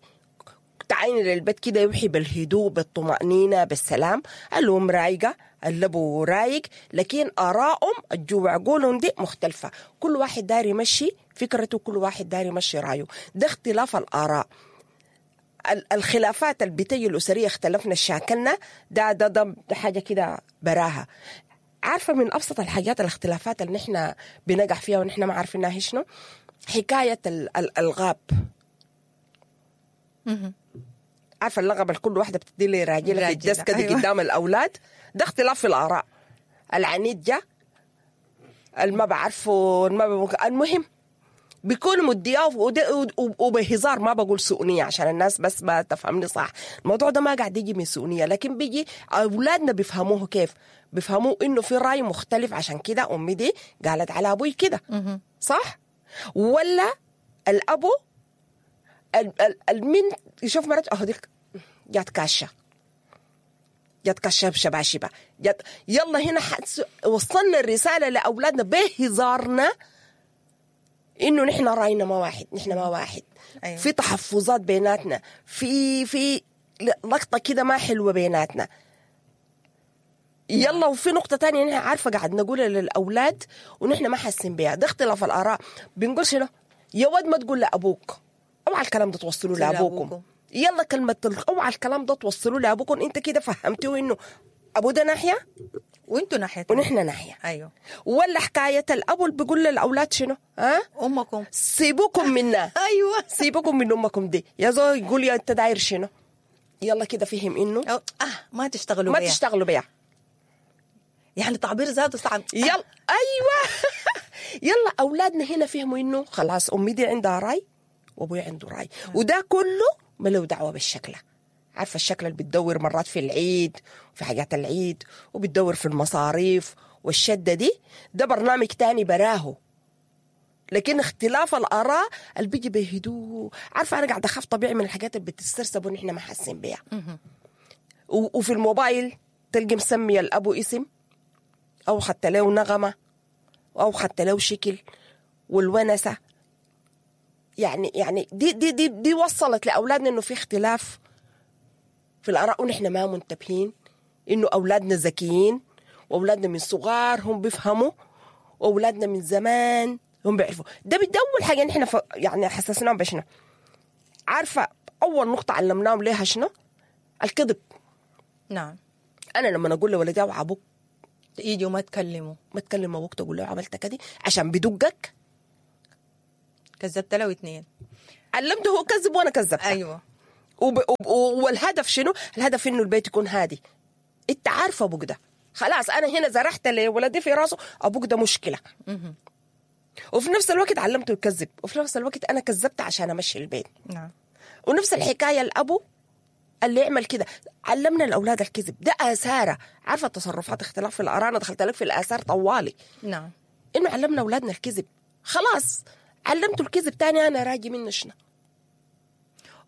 تعاين للبيت كده يوحي بالهدوء بالطمأنينة بالسلام، الأم رايقة الأبو رايق، لكن آرائهم الجوع عقولهم دي مختلفة، كل واحد داري يمشي فكرته، كل واحد داري يمشي رايه، ده اختلاف الآراء. الخلافات البيتية الأسرية اختلفنا شاكلنا، ده ده ده, ده حاجة كده براها. عارفة من أبسط الحاجات الاختلافات اللي نحن بنقع فيها ونحن ما عارفينها هي شنو؟ حكاية الألغاب. عارفة اللغب الكل واحدة بتدي لي راجلة في الدسكة دي قدام الأولاد، ده اختلاف في الآراء. العنيد جا، الما بعرفه، الما المهم بيكون مدياه وبهزار، ما بقول سؤنية عشان الناس بس ما تفهمني صح، الموضوع ده ما قاعد يجي من سؤنية، لكن بيجي أولادنا بيفهموه كيف؟ بيفهموه إنه في رأي مختلف، عشان كده أمي دي قالت على أبوي كده، صح؟ ولا الأبو المن يشوف مرته أهو ديك جات كاشة، جات كاشة بشباشبة، جات يلا هنا وصلنا الرسالة لأولادنا بهزارنا إنه نحن رأينا ما واحد، نحن ما واحد. أيوة. في تحفظات بيناتنا، في في لقطة كده ما حلوة بيناتنا. يلا وفي نقطة تانية نحن عارفة قاعد نقولها للأولاد ونحن ما حاسين بيها، ده اختلاف الآراء. بنقول شنو؟ يا ود ما تقول لأبوك، اوعى الكلام ده توصلوه لأبوكم. يلا كلمة اوعى الكلام ده توصلوه لأبوكم، أنت كده فهمتوه إنه أبو ده ناحية وانتوا ناحية ونحن ناحية. أيوه. ولا حكاية الأبو اللي بيقول للأولاد شنو؟ ها؟ أمكم سيبوكم منا. أيوه سيبوكم من أمكم دي، يا زول يقول يا أنت داير شنو؟ يلا كده فهم إنه أو آه ما تشتغلوا ما بيها. تشتغلوا بيها. يعني تعبير ذاته صعب. يلا أيوه. يلا أولادنا هنا فهموا إنه خلاص أمي دي عندها رأي وأبوي عنده رأي، وده كله ما له دعوة بالشكل. عارفة الشكل اللي بتدور مرات في العيد وفي حاجات العيد وبتدور في المصاريف والشدة دي، ده برنامج تاني براهو. لكن اختلاف الآراء اللي بيجي بهدوء، عارفة أنا قاعدة أخاف طبيعي من الحاجات اللي بتسترسب ونحن ما حاسين بيها. وفي الموبايل تلقي مسمية الأبو اسم او خدت له نغمة او خدت له شكل والونسه. يعني يعني دي دي دي دي وصلت لاولادنا انه في اختلاف في الاراء، ونحن ما منتبهين انه اولادنا ذكيين، واولادنا من صغار هم بيفهموا، واولادنا من زمان هم بيعرفوا. ده بدي اول حاجة نحن ف... يعني حسسناهم بشنو؟ عارفه اول نقطة علمناهم ليها شنو؟ الكذب. نعم. انا لما اقول لولدي اوعى ابوك يجي وما تكلموا، ما تكلم ابوك تقول له عملت كده عشان بدقك، كذبت له اثنين، علمته هو كذب وانا كذبت. ايوه. وب... وب... والهدف شنو؟ الهدف انه البيت يكون هادي. انت عارفه ابوك ده خلاص، انا هنا زرعت لولدي في راسه ابوك ده مشكلة. وفي نفس الوقت علمته يكذب، وفي نفس الوقت انا كذبت عشان امشي البيت. نعم. ونفس الحكاية الابو اللي يعمل كده، علمنا الاولاد الكذب ده اثاره. عارفه التصرفات اختلاف في الاراء، انا دخلت لك في الاثار طوالي. نعم. انه علمنا اولادنا الكذب، خلاص علمته الكذب تاني انا راجي منه شنو؟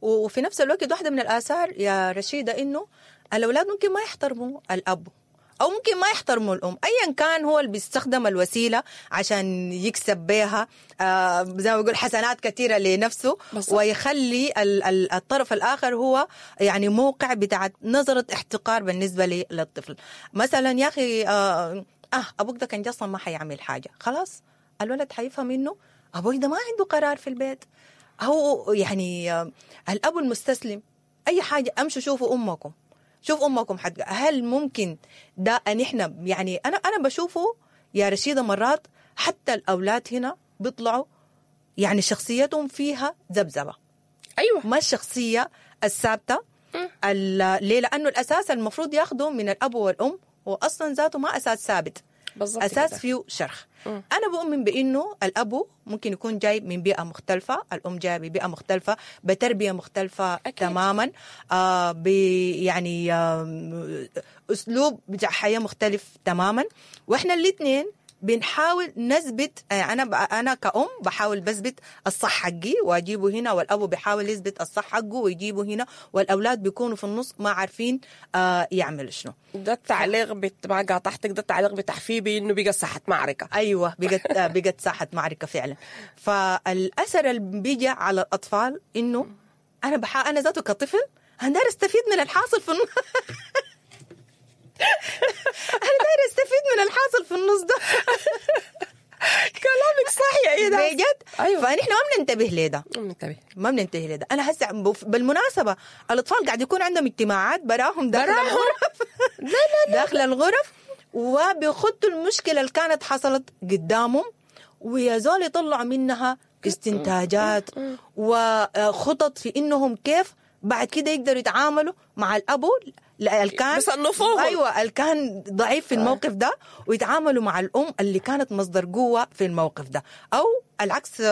وفي نفس الوقت واحدة من الاثار يا رشيده انه الاولاد ممكن ما يحترموا الاب او ممكن ما يحترموا الام، ايا كان هو اللي بيستخدم الوسيلة عشان يكسب بها آه زي ما بيقول حسنات كثيرة لنفسه، بالضبط. ويخلي ال- ال- الطرف الاخر هو يعني موقع بتاع نظره احتقار بالنسبة للطفل. مثلا يا اخي آه, اه ابوك ده كان اصلا ما حيعمل حاجة، خلاص الولد حيفهم انه ابوي ده ما عنده قرار في البيت، هو يعني آه الاب المستسلم اي حاجة امشوا شوفوا امكم، شوف امكم حد. هل ممكن ده ان احنا يعني انا انا بشوفه يا رشيده مرات حتى الاولاد هنا بيطلعوا يعني شخصيتهم فيها ذبذبة. ايوه. ما الشخصية الثابتة. ليه؟ لانه الاساس المفروض ياخده من الاب والام هو اصلا ذاته ما اساس ثابت، بالضبط اساس كده. فيه شرخ. م. انا بؤمن بانه الاب ممكن يكون جاي من بيئة مختلفة، الام جاية ببيئه مختلفة، بتربيه مختلفة. أكيد. تماما، آه ب يعني آه اسلوب بتاع حياة مختلف تماما، واحنا الاثنين بنحاول نثبت. انا ب... انا كأم بحاول بثبت الصح حقي واجيبه هنا، والابو بيحاول يثبت الصح حقه ويجيبه هنا، والاولاد بيكونوا في النص ما عارفين آه يعملوا شنو. ده التعليق بت... ما قاطعتك، ده التعليق بتاع فيبي انه بقى ساحة معركة. ايوه بقت بقت ساحة معركة فعلا. فالاثر اللي بيجي على الاطفال انه انا بحا... انا ذاته كطفل انا داير استفيد من الحاصل في النص. انا داير استفيد من الحاصل في النص ده. كلامك صح يا ايدا بجد. ايوه. فنحن ما بننتبه لده، ما بننتبه ما بننتبه لده. انا هسه بالمناسبة الاطفال قاعد يكون عندهم اجتماعات براهم داخل براهم. الغرف. لا لا لا داخل الغرف، وبيخطوا المشكلة اللي كانت حصلت قدامهم، ويا زول يطلعوا منها استنتاجات وخطط في انهم كيف بعد كده يقدروا يتعاملوا مع الابو اللي كان بيصنفوهم. ايوه اللي كان ضعيف في الموقف ده، ويتعاملوا مع الام اللي كانت مصدر قوة في الموقف ده، او العكس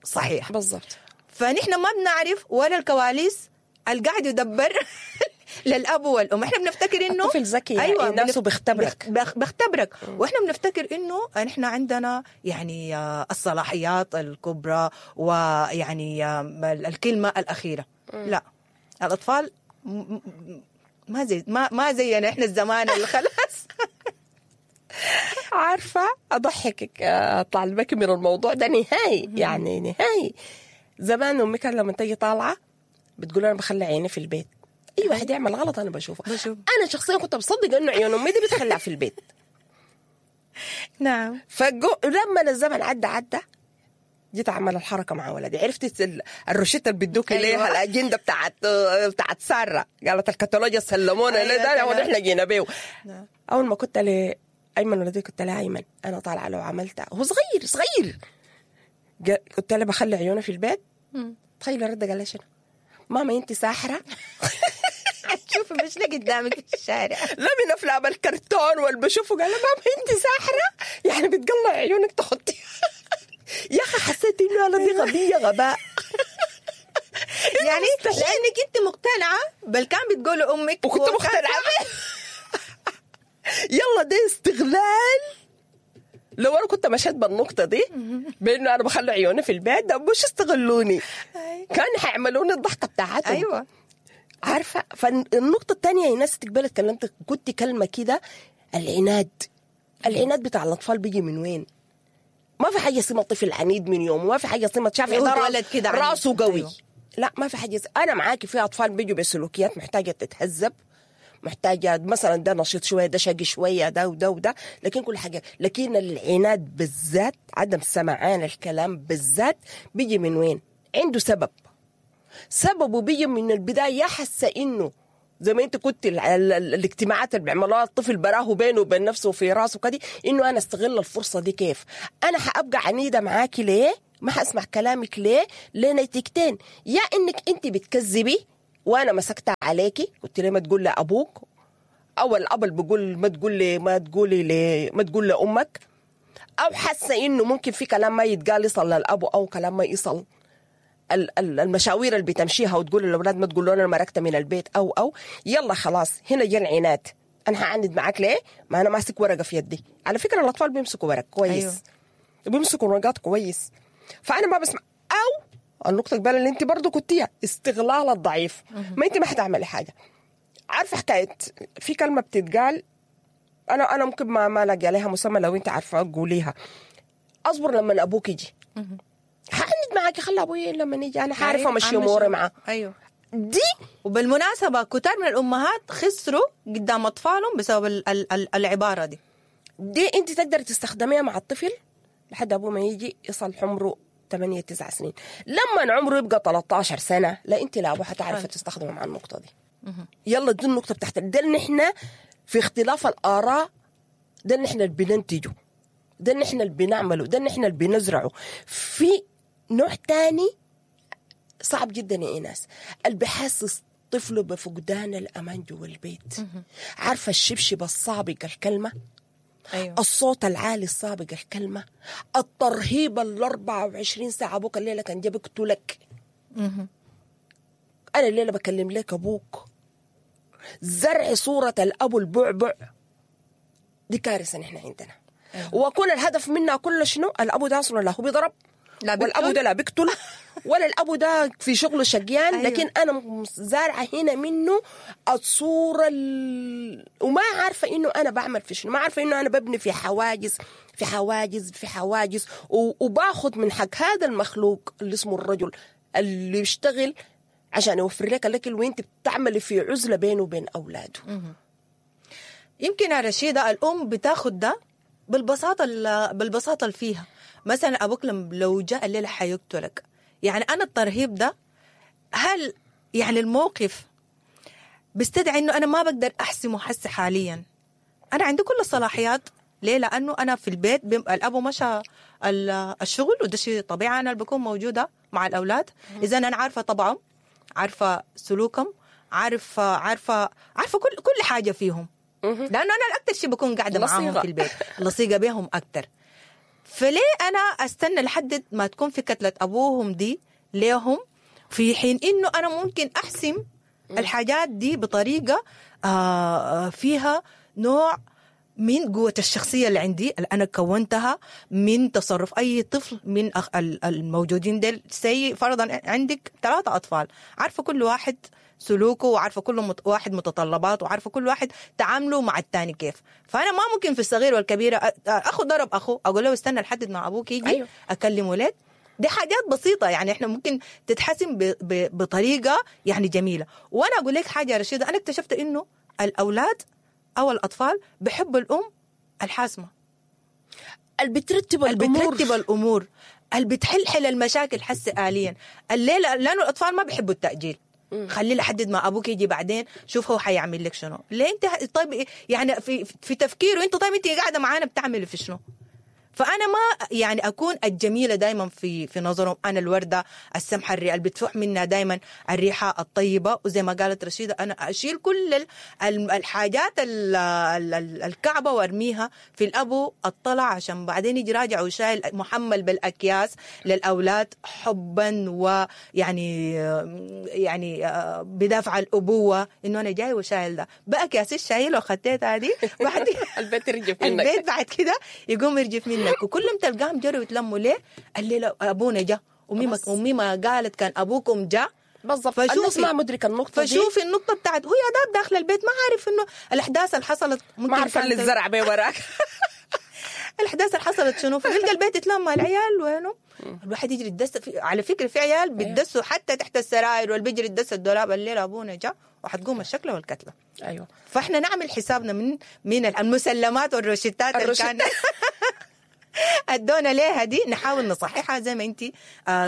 صحيح. بالضبط. فنحن ما بنعرف ولا الكواليس اللي قاعد يدبر للاب والام. احنا بنفتكر انه الطفل ذكي، ايوه نفسه بيختبرك، بخ بختبرك. واحنا بنفتكر انه نحن عندنا يعني الصلاحيات الكبرى ويعني الكلمة الاخيرة. م. لا، الاطفال ما زي ما ما زينا احنا الزمان اللي خلاص. عارفه اضحكك اطلع لك من الموضوع ده نهائي، يعني نهائي. زمان امي كان لما تيجي طالعه بتقول انا بخلي عيني في البيت، اي واحد يعمل غلط انا بشوفه. بشوف. انا شخصيا كنت بصدق انه عيون امي دي بتخلع في البيت. نعم. فجو لما الزمن عدى عدى جيت اعمل الحركة مع ولدي، عرفت الروشته اللي بيدوك أيوة. ليها الاجندة بتاعت بتاعت ساره، قالت الكتالوجيا سلمونا أيوة ليه ده ونحن جينا بيه. نعم. اول ما كنت لايمن ولدي كنت له ايمن انا طالعه لو عملتها، هو صغير صغير، قلت له بخلي عيونه في البيت. تخيل رد قال لي شنو؟ ماما انت ساحرة؟ شوفي مش قدامك في الشارع. لا من افلام الكرتون واللي بشوفه. قال ماما انت ساحرة؟ يعني بتقلع عيونك تحطيها. يا اخي حسيت انه انا دي غبية غباء. يعني لانك انت مقتنعة بل كان بتقول امك وكنت مقتنعة. يلا ده استغلال. لو انا كنت مشيت بالنقطة دي بانه انا بخلي عيوني في البيت ده مش استغلوني، كان حيعملوني الضحكة بتاعتهم. ايوه عارفه. فالنقطه الثانية يا ناس تقبل اتكلمت قلت كلمة كده، العناد. العناد بتاع الاطفال بيجي من وين؟ ما في حاجة اسمها طفل عنيد من يوم، وما في حاجة اسمها شافع هو ده اتولد كده عنيد. راسه قوي. أيوه. لا ما في حاجة. انا معاكي في اطفال بيجوا بسلوكيات محتاجه تتهذب، محتاجه مثلا ده نشيط شوية، ده شقي شوية، ده وده وده، لكن كل حاجة. لكن العناد بالذات، عدم سمعان الكلام بالذات، بيجي من وين؟ عنده سبب. سببه بيجي من البداية، حاسه انه زي ما انت كنت ال ال ال الاجتماعات اللي بيعملوها الطفل براه بينه وبين نفسه وفي راسه كده، انه انا استغل الفرصة دي كيف؟ انا حابقى عنيدة معاكي ليه؟ ما حاسمع كلامك ليه؟ لنتيجتين، يا انك انت بتكذبي وانا مسكتها عليكي قلت ليه ما تقول لابوك، او الاب اللي بيقول ما تقول لي ما تقولي لي ما تقول لامك، او حاسه انه ممكن في كلام ما يتقال يصل للاب، او كلام ما يصل المشاوير اللي بتمشيها وتقول للاولاد ما تقولوا انا مرقت من البيت، او او يلا خلاص هنا جا العناد. انا هعند معاك ليه؟ ما انا ماسك ورقة في يدي. على فكرة الاطفال بيمسكوا ورق كويس. أيوه. بيمسكوا ورقات كويس، فانا ما بسمع. او النقطة القبل اللي انت برضو كنتيها، استغلال الضعيف. ما انت ما حتعملي حاجة. عارفه حكاية في كلمة بتتقال، انا انا ممكن ما ما الاقي عليها مسمى، لو انت عارفه قوليها. اصبر لما ابوك يجي. حعند معاكي، خلي ابوي لما يجي انا حعرف امشي اموري معاه. ايوه دي. وبالمناسبة كتار من الامهات خسروا قدام اطفالهم بسبب ال ال ال العبارة دي. دي انت تقدر تستخدميها مع الطفل لحد ابوه ما يجي، يصل عمره ثمانية تسعة سنين. لما عمره يبقى ثلاثة عشر سنة، لا انت لا ابوه حتعرفي تستخدمه مع النقطة دي. يلا دي النقطة بتاعت ده اللي احنا في اختلاف الاراء، ده اللي احنا اللي بننتجه، ده اللي احنا اللي بنعمله، ده اللي احنا اللي بنزرعه. في نوع تاني صعب جدا يا ايناس، اللي بحسس طفله بفقدان الامان جوا البيت. عارفه الشبشب السابق الكلمة، أيوه. الصوت العالي السابق الكلمة، الترهيب ال أربعة وعشرين ساعة. ابوك الليلة كان جاب يقتلك، انا الليلة بكلم لك ابوك. زرع صوره الاب البعبع دي كارثة نحن عندنا. أيوه. وكل الهدف منها كل شنو؟ الابو ده اصلا لا هو بيضرب، لا والابو ده لا بيقتل، ولا الابو ده في شغله شقيان. أيوه. لكن انا زارعه هنا منه الصورة ال... وما عارفه انه انا بعمل في شنو، ما عارفه انه انا ببني في حواجز في حواجز في حواجز، و... وباخد من حق هذا المخلوق اللي اسمه الرجل اللي يشتغل عشان يوفر لك الاكل، وانت بتعملي في عزله بينه وبين اولاده. يمكن يا رشيده الام بتاخد ده بالبساطة بالبساطة اللي فيها. مثلا ابوك لو جاء الليلة حيقتلك، يعني انا الترهيب ده هل يعني الموقف بيستدعي انه انا ما بقدر احسمه حس حاليا؟ انا عندي كل الصلاحيات. ليه؟ لانه انا في البيت الابو مشى الشغل، وده شيء طبيعي، انا اللي بكون موجودة مع الاولاد. اذا انا عارفه طبعهم، عارفه سلوكهم، عارفه عارفه عارفه كل كل حاجة فيهم، لانه انا الاكثر شيء بكون قاعدة معاهم في البيت، لصيقه بهم اكثر. فليه انا استنى لحد ما تكون في كتلة ابوهم دي ليهم، في حين انه انا ممكن احسم الحاجات دي بطريقة فيها نوع من قوة الشخصية اللي عندي اللي أنا كونتها من تصرف أي طفل من الموجودين ديل. سي فرضا عندك ثلاثة أطفال، عارفة كل واحد سلوكه، وعارفة كل واحد متطلباته، وعارفة كل واحد تعامله مع الثاني كيف. فأنا ما ممكن في الصغير والكبيرة أخو ضرب أخو أقول له استنى لحد ما أبوك يجي. أيوه. أكلمه لك. دي حاجات بسيطة يعني إحنا ممكن تتحسن بطريقة يعني جميلة. وأنا أقول لك حاجة يا رشيدة، أنا اكتشفت إنه الأولاد أو الأطفال بحبوا الأم الحاسمة، اللي بترتب الأمور، بترتب الأمور، اللي بتحلحل المشاكل حس آليا. الليلة لأنه الأطفال ما بيحبوا التأجيل، خليه لحد ما أبوك يجي بعدين شوف هو حيعمل لك شنو. ليه أنت طيب يعني في في تفكيره أنت طيب أنت قاعدة معانا بتعمل في شنو؟ فأنا ما يعني أكون الجميلة دايما في في نظرهم، أنا الوردة السمحة اللي بتفوح منها دايما الريحة الطيبة. وزي ما قالت رشيدة أنا أشيل كل الحاجات الكعبة وأرميها في الأبو الطلع، عشان بعدين يجي راجع وشايل محمل بالأكياس للأولاد حبا ويعني يعني بدافع الأبوة إنه أنا جاي وشايل ده بأكياس الشايل وخدتها دي بعد البيت يرجف منك، البيت بعد كده يقوم يرجف منك. وكلهم تلقاهم جروا يتلموا ليه؟ الليلة أبونا جا، وميمة وميمة قالت كان أبوكم جا. بالضبط. الناس ما مدرك النقطة دي. فشوفي النقطة بتاعت هو يا داب داخل البيت ما عارف إنه الأحداث اللي حصلت، ما عارفة اللي الزرع بيه وراك. الاحداث اللي حصلت شنو؟ فبيلقى البيت اتلم، العيال وينه؟ الواحد يجري يتدس في... على فكرة في عيال بيتدسوا حتى تحت السراير، واللي بيجري يتدس الدولاب. الليلة ابونا جاء وحتقوم الشكله والكتله. ايوه. فاحنا نعمل حسابنا من من المسلمات والروشتات اللي كان ادونا ليها دي، نحاول نصححها زي ما انت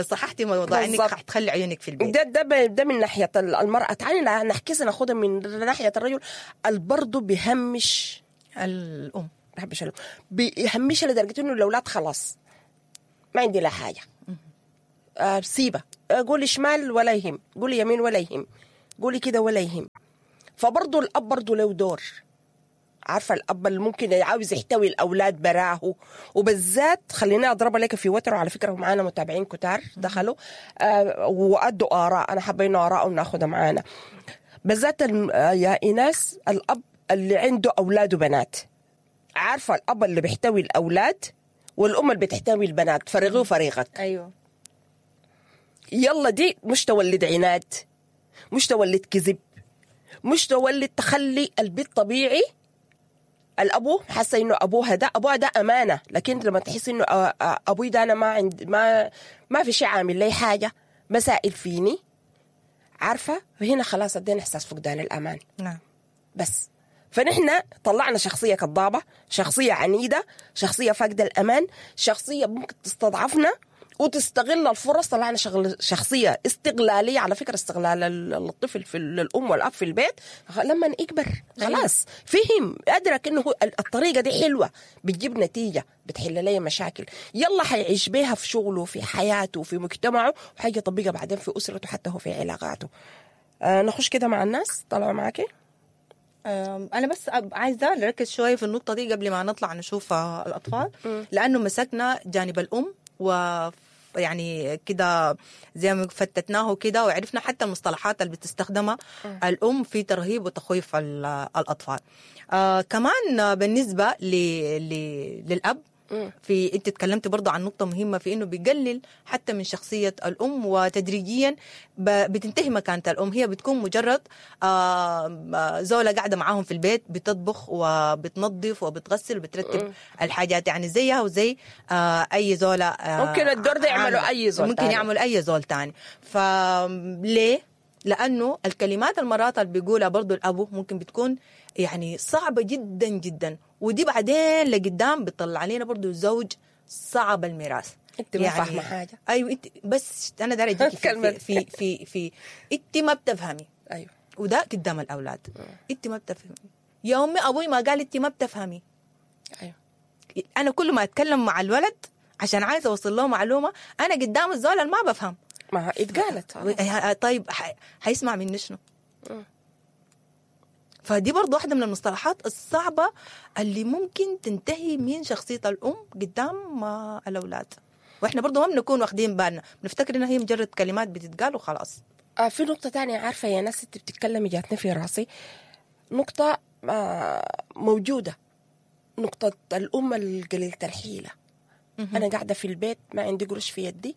صححتي موضوع انك حتخلي عيونك في البيت. ده ده ده من ناحية المراة. تعالي نحكي ناخدها من ناحية الرجل البرضه بيهمش الام، بيهمش الام، بيهمش لدرجة انه الاولاد خلاص ما عندي لا حاجة، آه سيبه، قولي شمال ولا يهم، قولي يمين ولا يهم، قولي كده ولا يهم. فبرضه الاب برضه له دور. عارفه الاب اللي ممكن عاوز يحتوي الاولاد براه، وبالذات خلينا اضربها لك في وتر. وعلى فكرة معانا متابعين كتار دخلوا آه وادوا اراء، انا حابة انه ارائهم ناخذها معانا. بالذات يا ايناس الاب اللي عنده اولاد وبنات، عارفه الاب اللي بيحتوي الاولاد والام اللي بتحتوي البنات، فريقي وفريقك. ايوه. يلا دي مش تولد عناد، مش تولد كذب، مش تولد تخلي البيت طبيعي. الابو حاسه انه ابوها ده ابوها ده امانه، لكن لما تحس انه ابوي ده انا ما عند ما ما في شيء عامل لي حاجة، مسائل فيني، عارفه هنا خلاص ادينا احساس فقدان الامان. نعم. بس فنحن طلعنا شخصية كذابه، شخصية عنيدة، شخصية فاقده الامان، شخصية ممكن تستضعفنا وتستغل الفرص. طلعنا شغل شخصية استغلالية. على فكرة استغلال الطفل في الأم والأب في البيت لما يكبر خلاص فهم أدرك إنه الطريقة دي حلوة، بتجيب نتيجة، بتحل لي مشاكل، يلا حيعيش بيها في شغله في حياته في مجتمعه، وحاجة يطبقها بعدين في أسرته حتى هو في علاقاته. آه نخش كده مع الناس طلعوا معاكي. أنا بس عايزة نركز شوية في النقطة دي قبل ما نطلع نشوف الأطفال، لأنه مسكنا جانب الأم و يعني كده زي ما فتتناه كده، وعرفنا حتى المصطلحات اللي بتستخدمها الأم في ترهيب وتخويف الأطفال. آه كمان بالنسبة ل... ل... للأب، في انت تكلمت برضو عن نقطة مهمة في انه بيقلل حتى من شخصية الأم، وتدريجيا بتنتهي مكانة الأم. هي بتكون مجرد زولة قاعدة معاهم في البيت، بتطبخ وبتنظف وبتغسل وبترتب الحاجات، يعني زيها وزي أي زولة. ممكن الدور ده يعملوا أي زول، ممكن يعمل أي زول تاني. فليه؟ لأنه الكلمات المرات اللي بيقولها برضو الأبو ممكن بتكون يعني صعبة جدا جدا، ودي بعدين لقدام بتطلع علينا برضو زوج صعب الميراث. انت ما يعني فاهمه حاجة. ايوه انت بس انا دايرة اجيكي في, في في في انت ما بتفهمي. ايوه. وده قدام الاولاد. انت ما بتفهمي يا امي، ابوي ما قال انت ما بتفهمي. ايوه. انا كل ما اتكلم مع الولد عشان عايزه اوصل له معلومة، انا قدام الزول ما بفهم. ما اتقالت. طيب حيسمع مني شنو؟ فدي برضو واحدة من المصطلحات الصعبة اللي ممكن تنتهي من شخصية الأم قدام الأولاد، وإحنا برضو ما بنكون واخدين بالنا، بنفتكر إنها هي مجرد كلمات بتتقال وخلاص. آه في نقطة تانية عارفة يا ناس أنت بتتكلمي جاتني في راسي نقطة آه موجودة، نقطة الأم القليلة الحيلة. أنا قاعدة في البيت ما عندي قروش في يدي،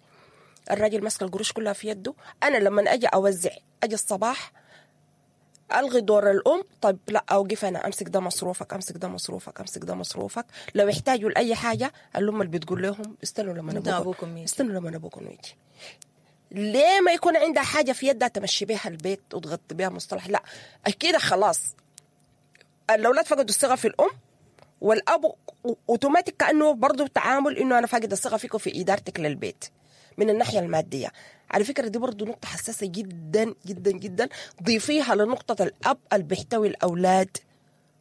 الراجل ماسك القروش كلها في يده، أنا لما أجي أوزع أجي الصباح ألغي دور الأم. طيب لا أوقف أنا، أمسك ده مصروفك، أمسك ده مصروفك، أمسك ده مصروفك. لو احتاجوا لأي حاجة الأم اللي بتقول لهم استنوا لما أبوكم يجي، استنوا لما أبوكم يجي. ليه ما يكون عندها حاجة في يدها تمشي بيها البيت وتغطي بيها مصطلح؟ لا أكيد خلاص الأولاد فقدوا الثقة في الأم، والأب أوتوماتيك كأنه برضو تعامل إنه أنا فاقد الثقة فيكم في إدارتك للبيت من الناحية المادية. على فكرة دي برضو نقطة حساسة جدا جدا جدا، ضيفيها لنقطة الأب اللي بيحتوي الأولاد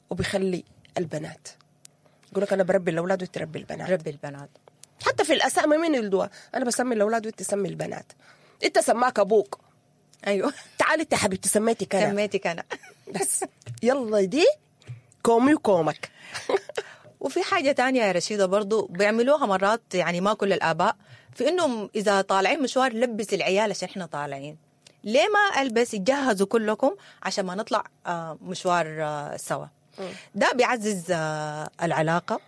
وبيخلي البنات. يقول لك أنا بربي الأولاد وتربي البنات. ربي البنات حتى في الأسامي مين يلدوها؟ أنا بسمي الأولاد وأنت تسمي البنات. أنت سماك أبوك. أيوه. تعالي أنت حبيبتي سميتك أنا. سميتك أنا. بس يلا دي كومي وكومك. وفي حاجة تانية يا رشيدة برضو بيعملوها مرات، يعني ما كل الآباء، في إنهم إذا طالعين مشوار لبس العيال عشان إحنا طالعين. ليه ما ألبس؟ يتجهزوا كلكم عشان ما نطلع مشوار سوا. ده بيعزز العلاقة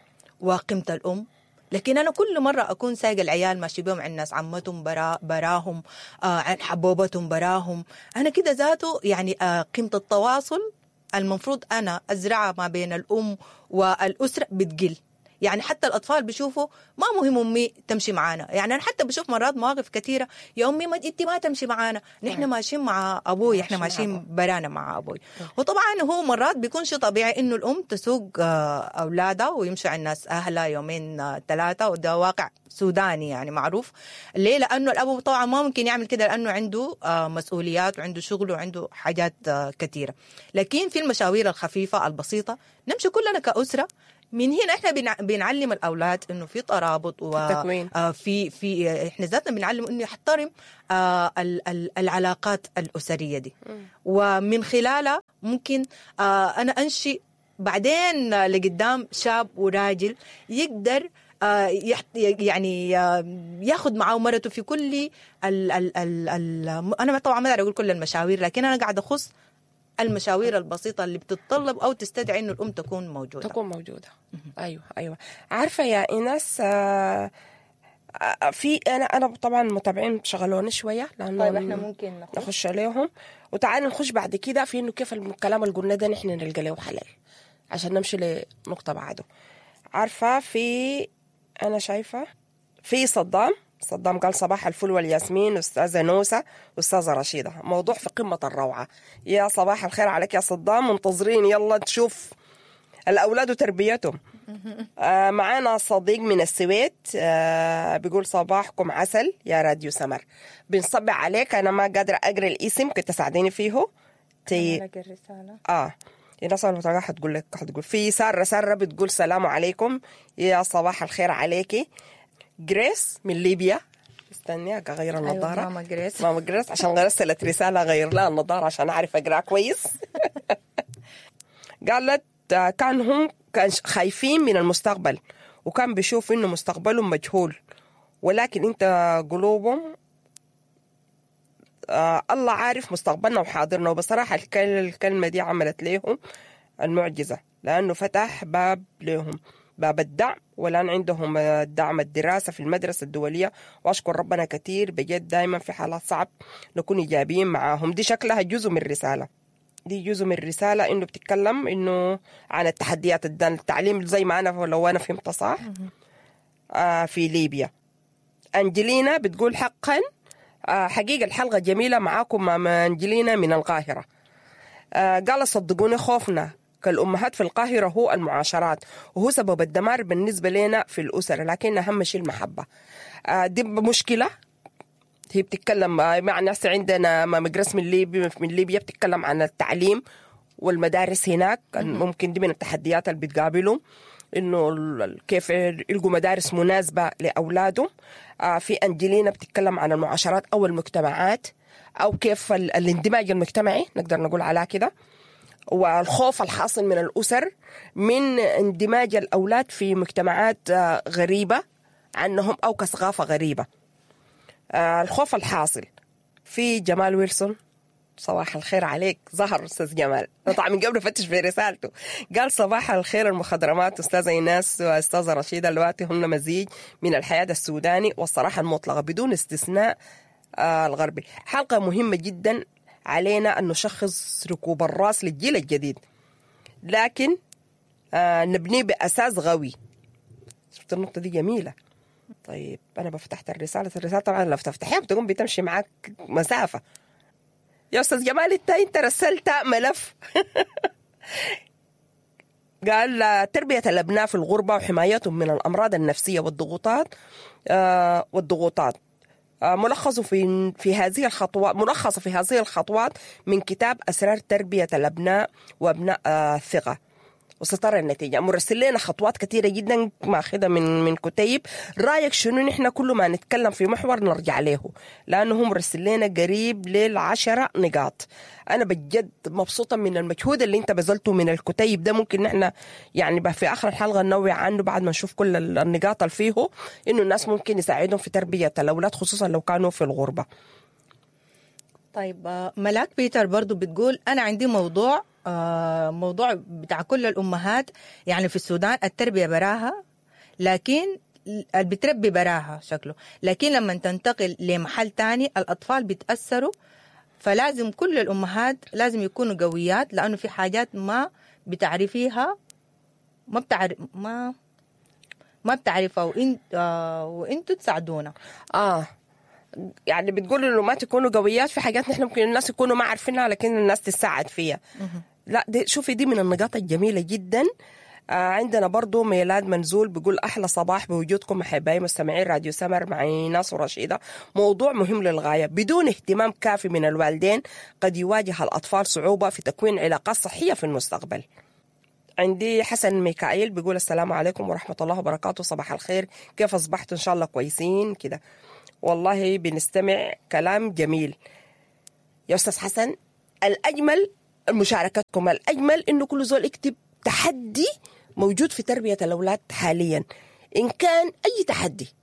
وقيمة الأم. لكن أنا كل مرة أكون سايقة العيال ماشي بيهم عند ناس عمتهم برا براهم، عن حبوبتهم براهم، أنا كده ذاته يعني قيمة التواصل المفروض أنا أزرعها ما بين الأم والأسرة بتقل. يعني حتى الاطفال بيشوفوا ما مهم امي تمشي معانا. يعني انا حتى بشوف مرات مواقف كثيرة، يا امي ما انت ما تمشي معانا، نحن ماشيين مع ابوي، احنا ماشيين برانا مع ابوي. وطبعا هو مرات بيكون شيء طبيعي انه الام تسوق اولادها ويمشوا عند ناس اهلها يومين ثلاثة، وده واقع سوداني يعني معروف. ليه؟ لانه الاب طبعا ما ممكن يعمل كده لانه عنده مسؤوليات وعنده شغل وعنده حاجات كثيرة. لكن في المشاوير الخفيفة البسيطة نمشي كلنا كاسره. من هنا احنا بنعلم الاولاد انه في ترابط وفي في احنا ذاتنا بنعلم انه يحترم العلاقات الاسرية دي، ومن خلالها ممكن انا انشئ بعدين لقدام شاب وراجل يقدر يعني ياخذ معاه مرته في كل ال ال ال ال انا طبعا ما اقدر اقول كل المشاوير، لكن انا قاعدة اخص المشاوير البسيطة اللي بتتطلب أو تستدعي إنه الأم تكون موجودة. تكون موجودة. أيوة أيوة. عارفة يا إيناس، آه في أنا أنا طبعا متابعين شغلوني شوية لأنه طيب إحنا ممكن نخش, نخش عليهم، وتعالي نخش بعد كده في إنه كيف الكلام اللي قلنا ده نحن نلقى له حلال عشان نمشي لنقطة بعده. عارفة في أنا شايفة في صدام صدام قال صباح الفل والياسمين أستاذة نوسة أستاذة رشيدة، موضوع في قمة الروعة. يا صباح الخير عليك يا صدام، منتظرين يلا تشوف الأولاد وتربيتهم. آه معانا صديق من السويد آه بيقول صباحكم عسل يا راديو سمر، بنصبح عليك. أنا ما قادرة أقرأ الاسم، كنت تساعديني فيه. تي... الرسالة. آه الناس المتابعة حتقول لك، حتقول في سارة سارة بتقول سلام عليكم يا صباح الخير عليكي. جريس من ليبيا، استني اغير النظارة. أيوة ماما جريس، ماما جريس عشان رسلت رسالة غير لها النظارة عشان اعرف اقرا كويس. قالت كان هم كان خايفين من المستقبل، وكان بيشوف انه مستقبلهم مجهول، ولكن انت قلوبهم آه الله عارف مستقبلنا وحاضرنا. وبصراحة الكلمة دي عملت لهم المعجزة، لانه فتح باب لهم، باب الدعم، والآن عندهم دعم الدراسة في المدرسة الدولية. وأشكر ربنا كثير بجد، دايما في حالات صعب نكون إيجابيين معاهم. دي شكلها جزء من الرسالة، دي جزء من الرسالة إنه بتتكلم إنه عن التحديات التعليم زي ما أنا لو أنا فهمت صح آه في ليبيا. أنجلينا بتقول حقا آه حقيقة الحلقة جميلة معاكم ماما أنجلينا من القاهرة. آه قال صدقوني خوفنا كالأمهات في القاهرة هو المعاشرات، وهو سبب الدمار بالنسبة لنا في الأسرة، لكن أهم شيء المحبة. آه دي مشكلة. هي بتتكلم مع ناس عندنا ماما جريس من ليبيا، من ليبيا بتتكلم عن التعليم والمدارس هناك. ممكن دي من التحديات اللي بتقابلهم، إنه كيف يلقوا مدارس مناسبة لأولادهم. آه في أنجلينا بتتكلم عن المعاشرات أو المجتمعات، أو كيف الاندماج المجتمعي نقدر نقول على كده، والخوف الحاصل من الأسر من اندماج الأولاد في مجتمعات غريبة عنهم أو كثقافة غريبة. الخوف الحاصل. في جمال ويلسون، صباح الخير عليك، ظهر أستاذ جمال طبعا من قبل فتش في رسالته. قال صباح الخير المخضرمات أستاذة إيناس وأستاذة رشيدة، الوقت هم مزيج من الحياة السوداني والصراحة المطلقة بدون استثناء الغربي. حلقة مهمة جدا، علينا أن نشخص ركوب الرأس للجيل الجديد، لكن آه نبنيه بأساس قوي. شفت النقطة دي جميلة. طيب أنا بفتحت الرسالة، الرسالة طبعا لو بتفتحيها بتقوم بتمشي معاك مسافة. يا أستاذ جمال أنت أنت رسلت ملف. قال تربية الأبناء في الغربة وحمايتهم من الأمراض النفسية والضغوطات آه والضغوطات ملخص في في هذه الخطوات، ملخص في هذه الخطوات من كتاب أسرار تربية الأبناء وأبناء الثقة. وسترى النتيجة. مرسل لنا خطوات كثيرة جدا ماخذة من من كتيب. رأيك شنو؟ نحن كل ما نتكلم في محور نرجع له، لأنه هو مرسل لنا قريب للعشرة نقاط. أنا بجد مبسوطة من المجهود اللي أنت بذلته من الكتيب ده. ممكن نحن يعني في آخر الحلقة ننوع عنه بعد ما نشوف كل النقاط اللي فيه، إنه الناس ممكن يساعدهم في تربية الأولاد خصوصا لو كانوا في الغربة. طيب ملاك بيتر برضو بتقول أنا عندي موضوع موضوع بتاع كل الأمهات يعني في السودان، التربية براها، لكن بتربي براها شكله، لكن لما تنتقل لمحل تاني الأطفال بيتأثروا، فلازم كل الأمهات لازم يكونوا قويات، لأنه في حاجات ما بتعرفيها ما بتعرف ما ما بتعرفها وإن آه وإنتوا تساعدونا. اه يعني بتقول انه ما تكونوا قويات في حاجات نحن ممكن الناس يكونوا ما عارفينها لكن الناس تساعد فيها. لا دي شوفي دي من النقاط الجميلة جدا. آه عندنا برضو ميلاد منزول بيقول أحلى صباح بوجودكم أحبائي مستمعين راديو سمر مع إيناس ورشيدة. موضوع مهم للغاية، بدون اهتمام كافي من الوالدين قد يواجه الأطفال صعوبة في تكوين علاقات صحية في المستقبل. عندي حسن ميكائيل بيقول السلام عليكم ورحمة الله وبركاته، صباح الخير، كيف أصبحتوا؟ إن شاء الله كويسين كده. والله بنستمع كلام جميل يا أستاذ حسن. الأجمل مشاركتكم، الأجمل إنه كل زول يكتب تحدي موجود في تربية الأولاد حاليا، إن كان أي تحدي.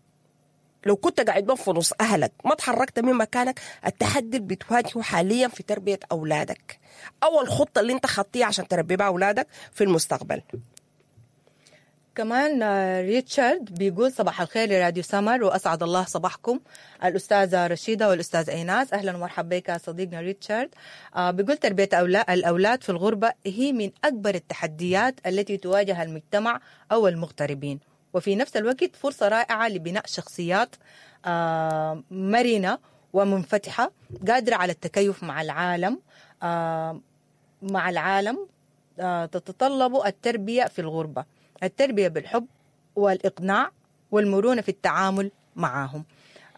لو كنت قاعد في نص أهلك ما تحركت من مكانك، التحدي اللي بتواجهه حاليا في تربية أولادك أو الخطة اللي أنت خطيها عشان تربي بها أولادك في المستقبل. كمان ريتشارد بيقول صباح الخير لراديو سمر وأسعد الله صباحكم الأستاذة رشيدة والأستاذ إيناس. أهلا ومرحبا بك صديقنا ريتشارد. بيقول تربية الأولاد في الغربة هي من أكبر التحديات التي تواجه المجتمع أو المغتربين، وفي نفس الوقت فرصة رائعة لبناء شخصيات مرنة ومنفتحة قادرة على التكيف مع العالم مع العالم تتطلب التربية في الغربة التربية بالحب والإقناع والمرونة في التعامل معهم.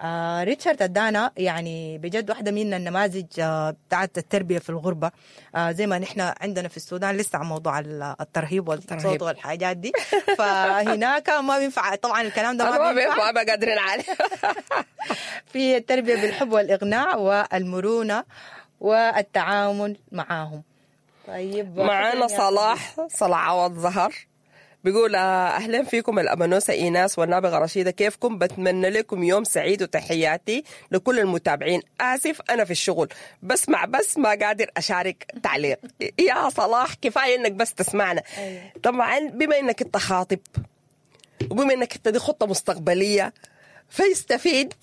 آه ريتشارد أدانا يعني بجد واحدة من النماذج آه بتاعت التربية في الغربة. آه زي ما نحن عندنا في السودان لسه عن موضوع الترهيب والصوت والحاجات دي، فهناك ما بينفع طبعا الكلام ده، ما بينفع، ما قادرين عليه. في التربية بالحب والإقناع والمرونة والتعامل معهم. طيب معانا صلاح صلاح عوض زهر بيقول أهلا فيكم الأمانوسة إيناس والنابغة رشيدة، كيفكم؟ بتمنى لكم يوم سعيد وتحياتي لكل المتابعين. آسف أنا في الشغل بسمع بس ما قادر أشارك تعليق. يا صلاح كفاية إنك بس تسمعنا. طبعا بما إنك أنت خاطب وبما إنك أنت دي خطة مستقبلية فيستفيد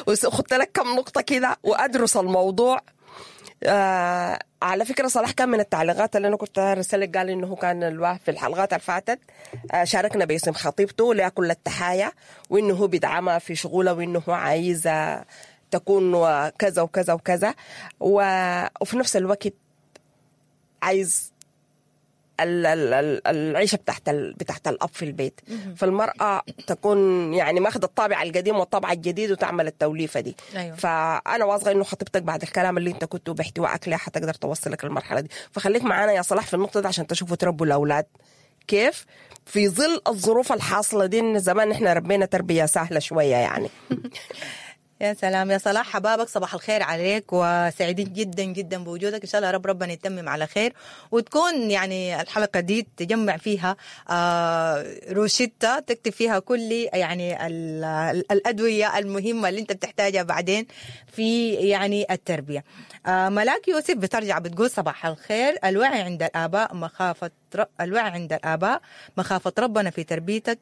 وخدت لك كم نقطة كده وأدرس الموضوع. آه على فكرة صلاح كان من التعليقات اللي أنا كنت رسلك، قال إنه كان الواحد في الحلقات اللي فاتت آه شاركنا باسم خطيبته لها كل التحايا، وإنه هو بيدعمها في شغله وإنه هو عايزة تكون كذا وكذا وكذا، وفي نفس الوقت عايز العيشة بتاعت بتاعت الأب في البيت. فالمرأة تكون يعني ماخذة الطابع القديم والطابع الجديد وتعمل التوليفة دي. أيوة. فأنا واثقة إنه خطيبتك بعد الكلام اللي أنت كنت باحتوائك لها حتقدر توصلك للمرحلة دي. فخليك معانا يا صلاح في النقطة دي عشان تشوفوا تربوا الأولاد كيف في ظل الظروف الحاصلة دي. إن زمان إحنا ربينا تربية سهلة شوية يعني. يا سلام يا صلاح، حبابك صباح الخير عليك وسعيدين جدا جدا بوجودك. إن شاء الله رب ربنا يتمم على خير وتكون يعني الحلقة دي تجمع فيها روشتة تكتب فيها كل يعني الأدوية المهمة اللي انت بتحتاجها بعدين في يعني التربية. ملاك يوسف بترجع بتقول صباح الخير، الوعي عند الآباء مخافة الوعي عند الآباء مخافة ربنا في تربيتك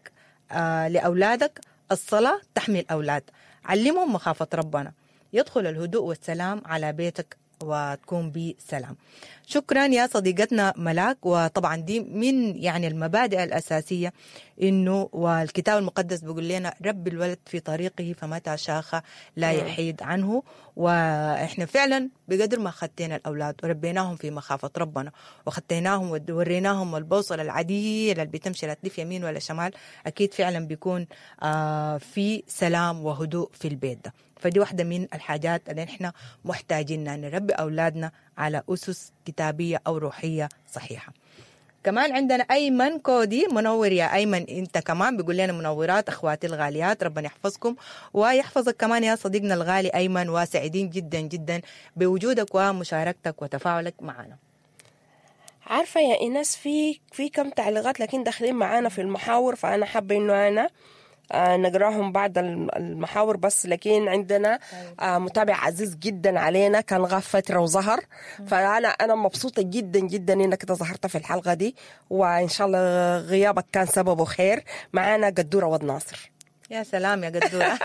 لأولادك، الصلاة تحمي الأولاد، علمهم مخافة ربنا، يدخل الهدوء والسلام على بيتك وتكون بسلام. شكرا يا صديقتنا ملاك. وطبعا دي من يعني المبادئ الأساسية، إنه والكتاب المقدس بيقول لنا رب الولد في طريقه فمتى شاخ لا يحيد عنه. وإحنا فعلا بقدر ما خدتنا الأولاد وربيناهم في مخافة ربنا وخدتناهم ووريناهم البوصلة العديلة اللي بتمشي لا تلف يمين ولا شمال، أكيد فعلا بيكون في سلام وهدوء في البيت ده. فدي واحدة من الحاجات اللي احنا محتاجين نربي أولادنا على أسس كتابية أو روحية صحيحة. كمان عندنا أيمن كودي، منور يا أيمن أنت كمان، بيقول لنا منورات أخواتي الغاليات، ربنا يحفظكم ويحفظك كمان يا صديقنا الغالي أيمن، وسعيدين جدا جدا بوجودك ومشاركتك وتفاعلك معنا. عارفة يا إيناس في في كم تعليقات لكن داخلين معانا في المحاور، فأنا حابة إنه أنا آه نقراهم بعد المحاور بس. لكن عندنا آه متابع عزيز جدا علينا كان غاب فترة وظهر، فأنا أنا مبسوطة جدا جدا إنك أنت ظهرت في الحلقة دي، وإن شاء الله غيابك كان سببه خير. معانا قدورة ود ناصر. يا سلام يا قدورة.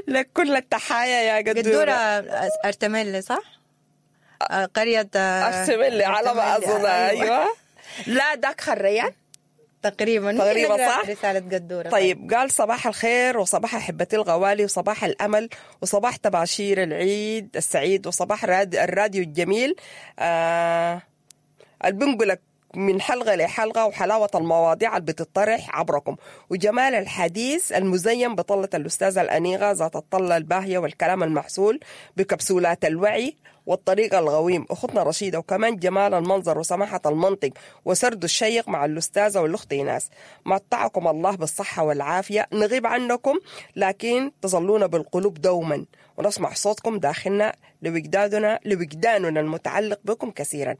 لك كل التحايا يا قدورة. قدورة أرتميل صح؟ قرية أرتميل على ما أظن. أيوة. لا داك خريان. تقريبا ممكن تقريبا نقرأ صح؟ رسالة قدورة. طيب، قال صباح الخير وصباح أحبتي الغوالي وصباح الأمل وصباح تباشير العيد السعيد وصباح راد الراديو الجميل آه اللي من حلقة لحلقة، وحلاوة المواضيع اللي بتطرح عبركم، وجمال الحديث المزين بطلة الأستاذة الأنيغة ذات الطلة الباهية والكلام المعسول بكبسولات الوعي والطريق الغويم أختنا رشيدة، وكمان جمال المنظر وسماحة المنطق وسرد الشيق مع الأستاذة والأخت إيناس. متعكم الله بالصحة والعافية. نغيب عنكم لكن تظلون بالقلوب دوما، ونسمع صوتكم داخلنا لوجداننا لوجداننا المتعلق بكم كثيرا.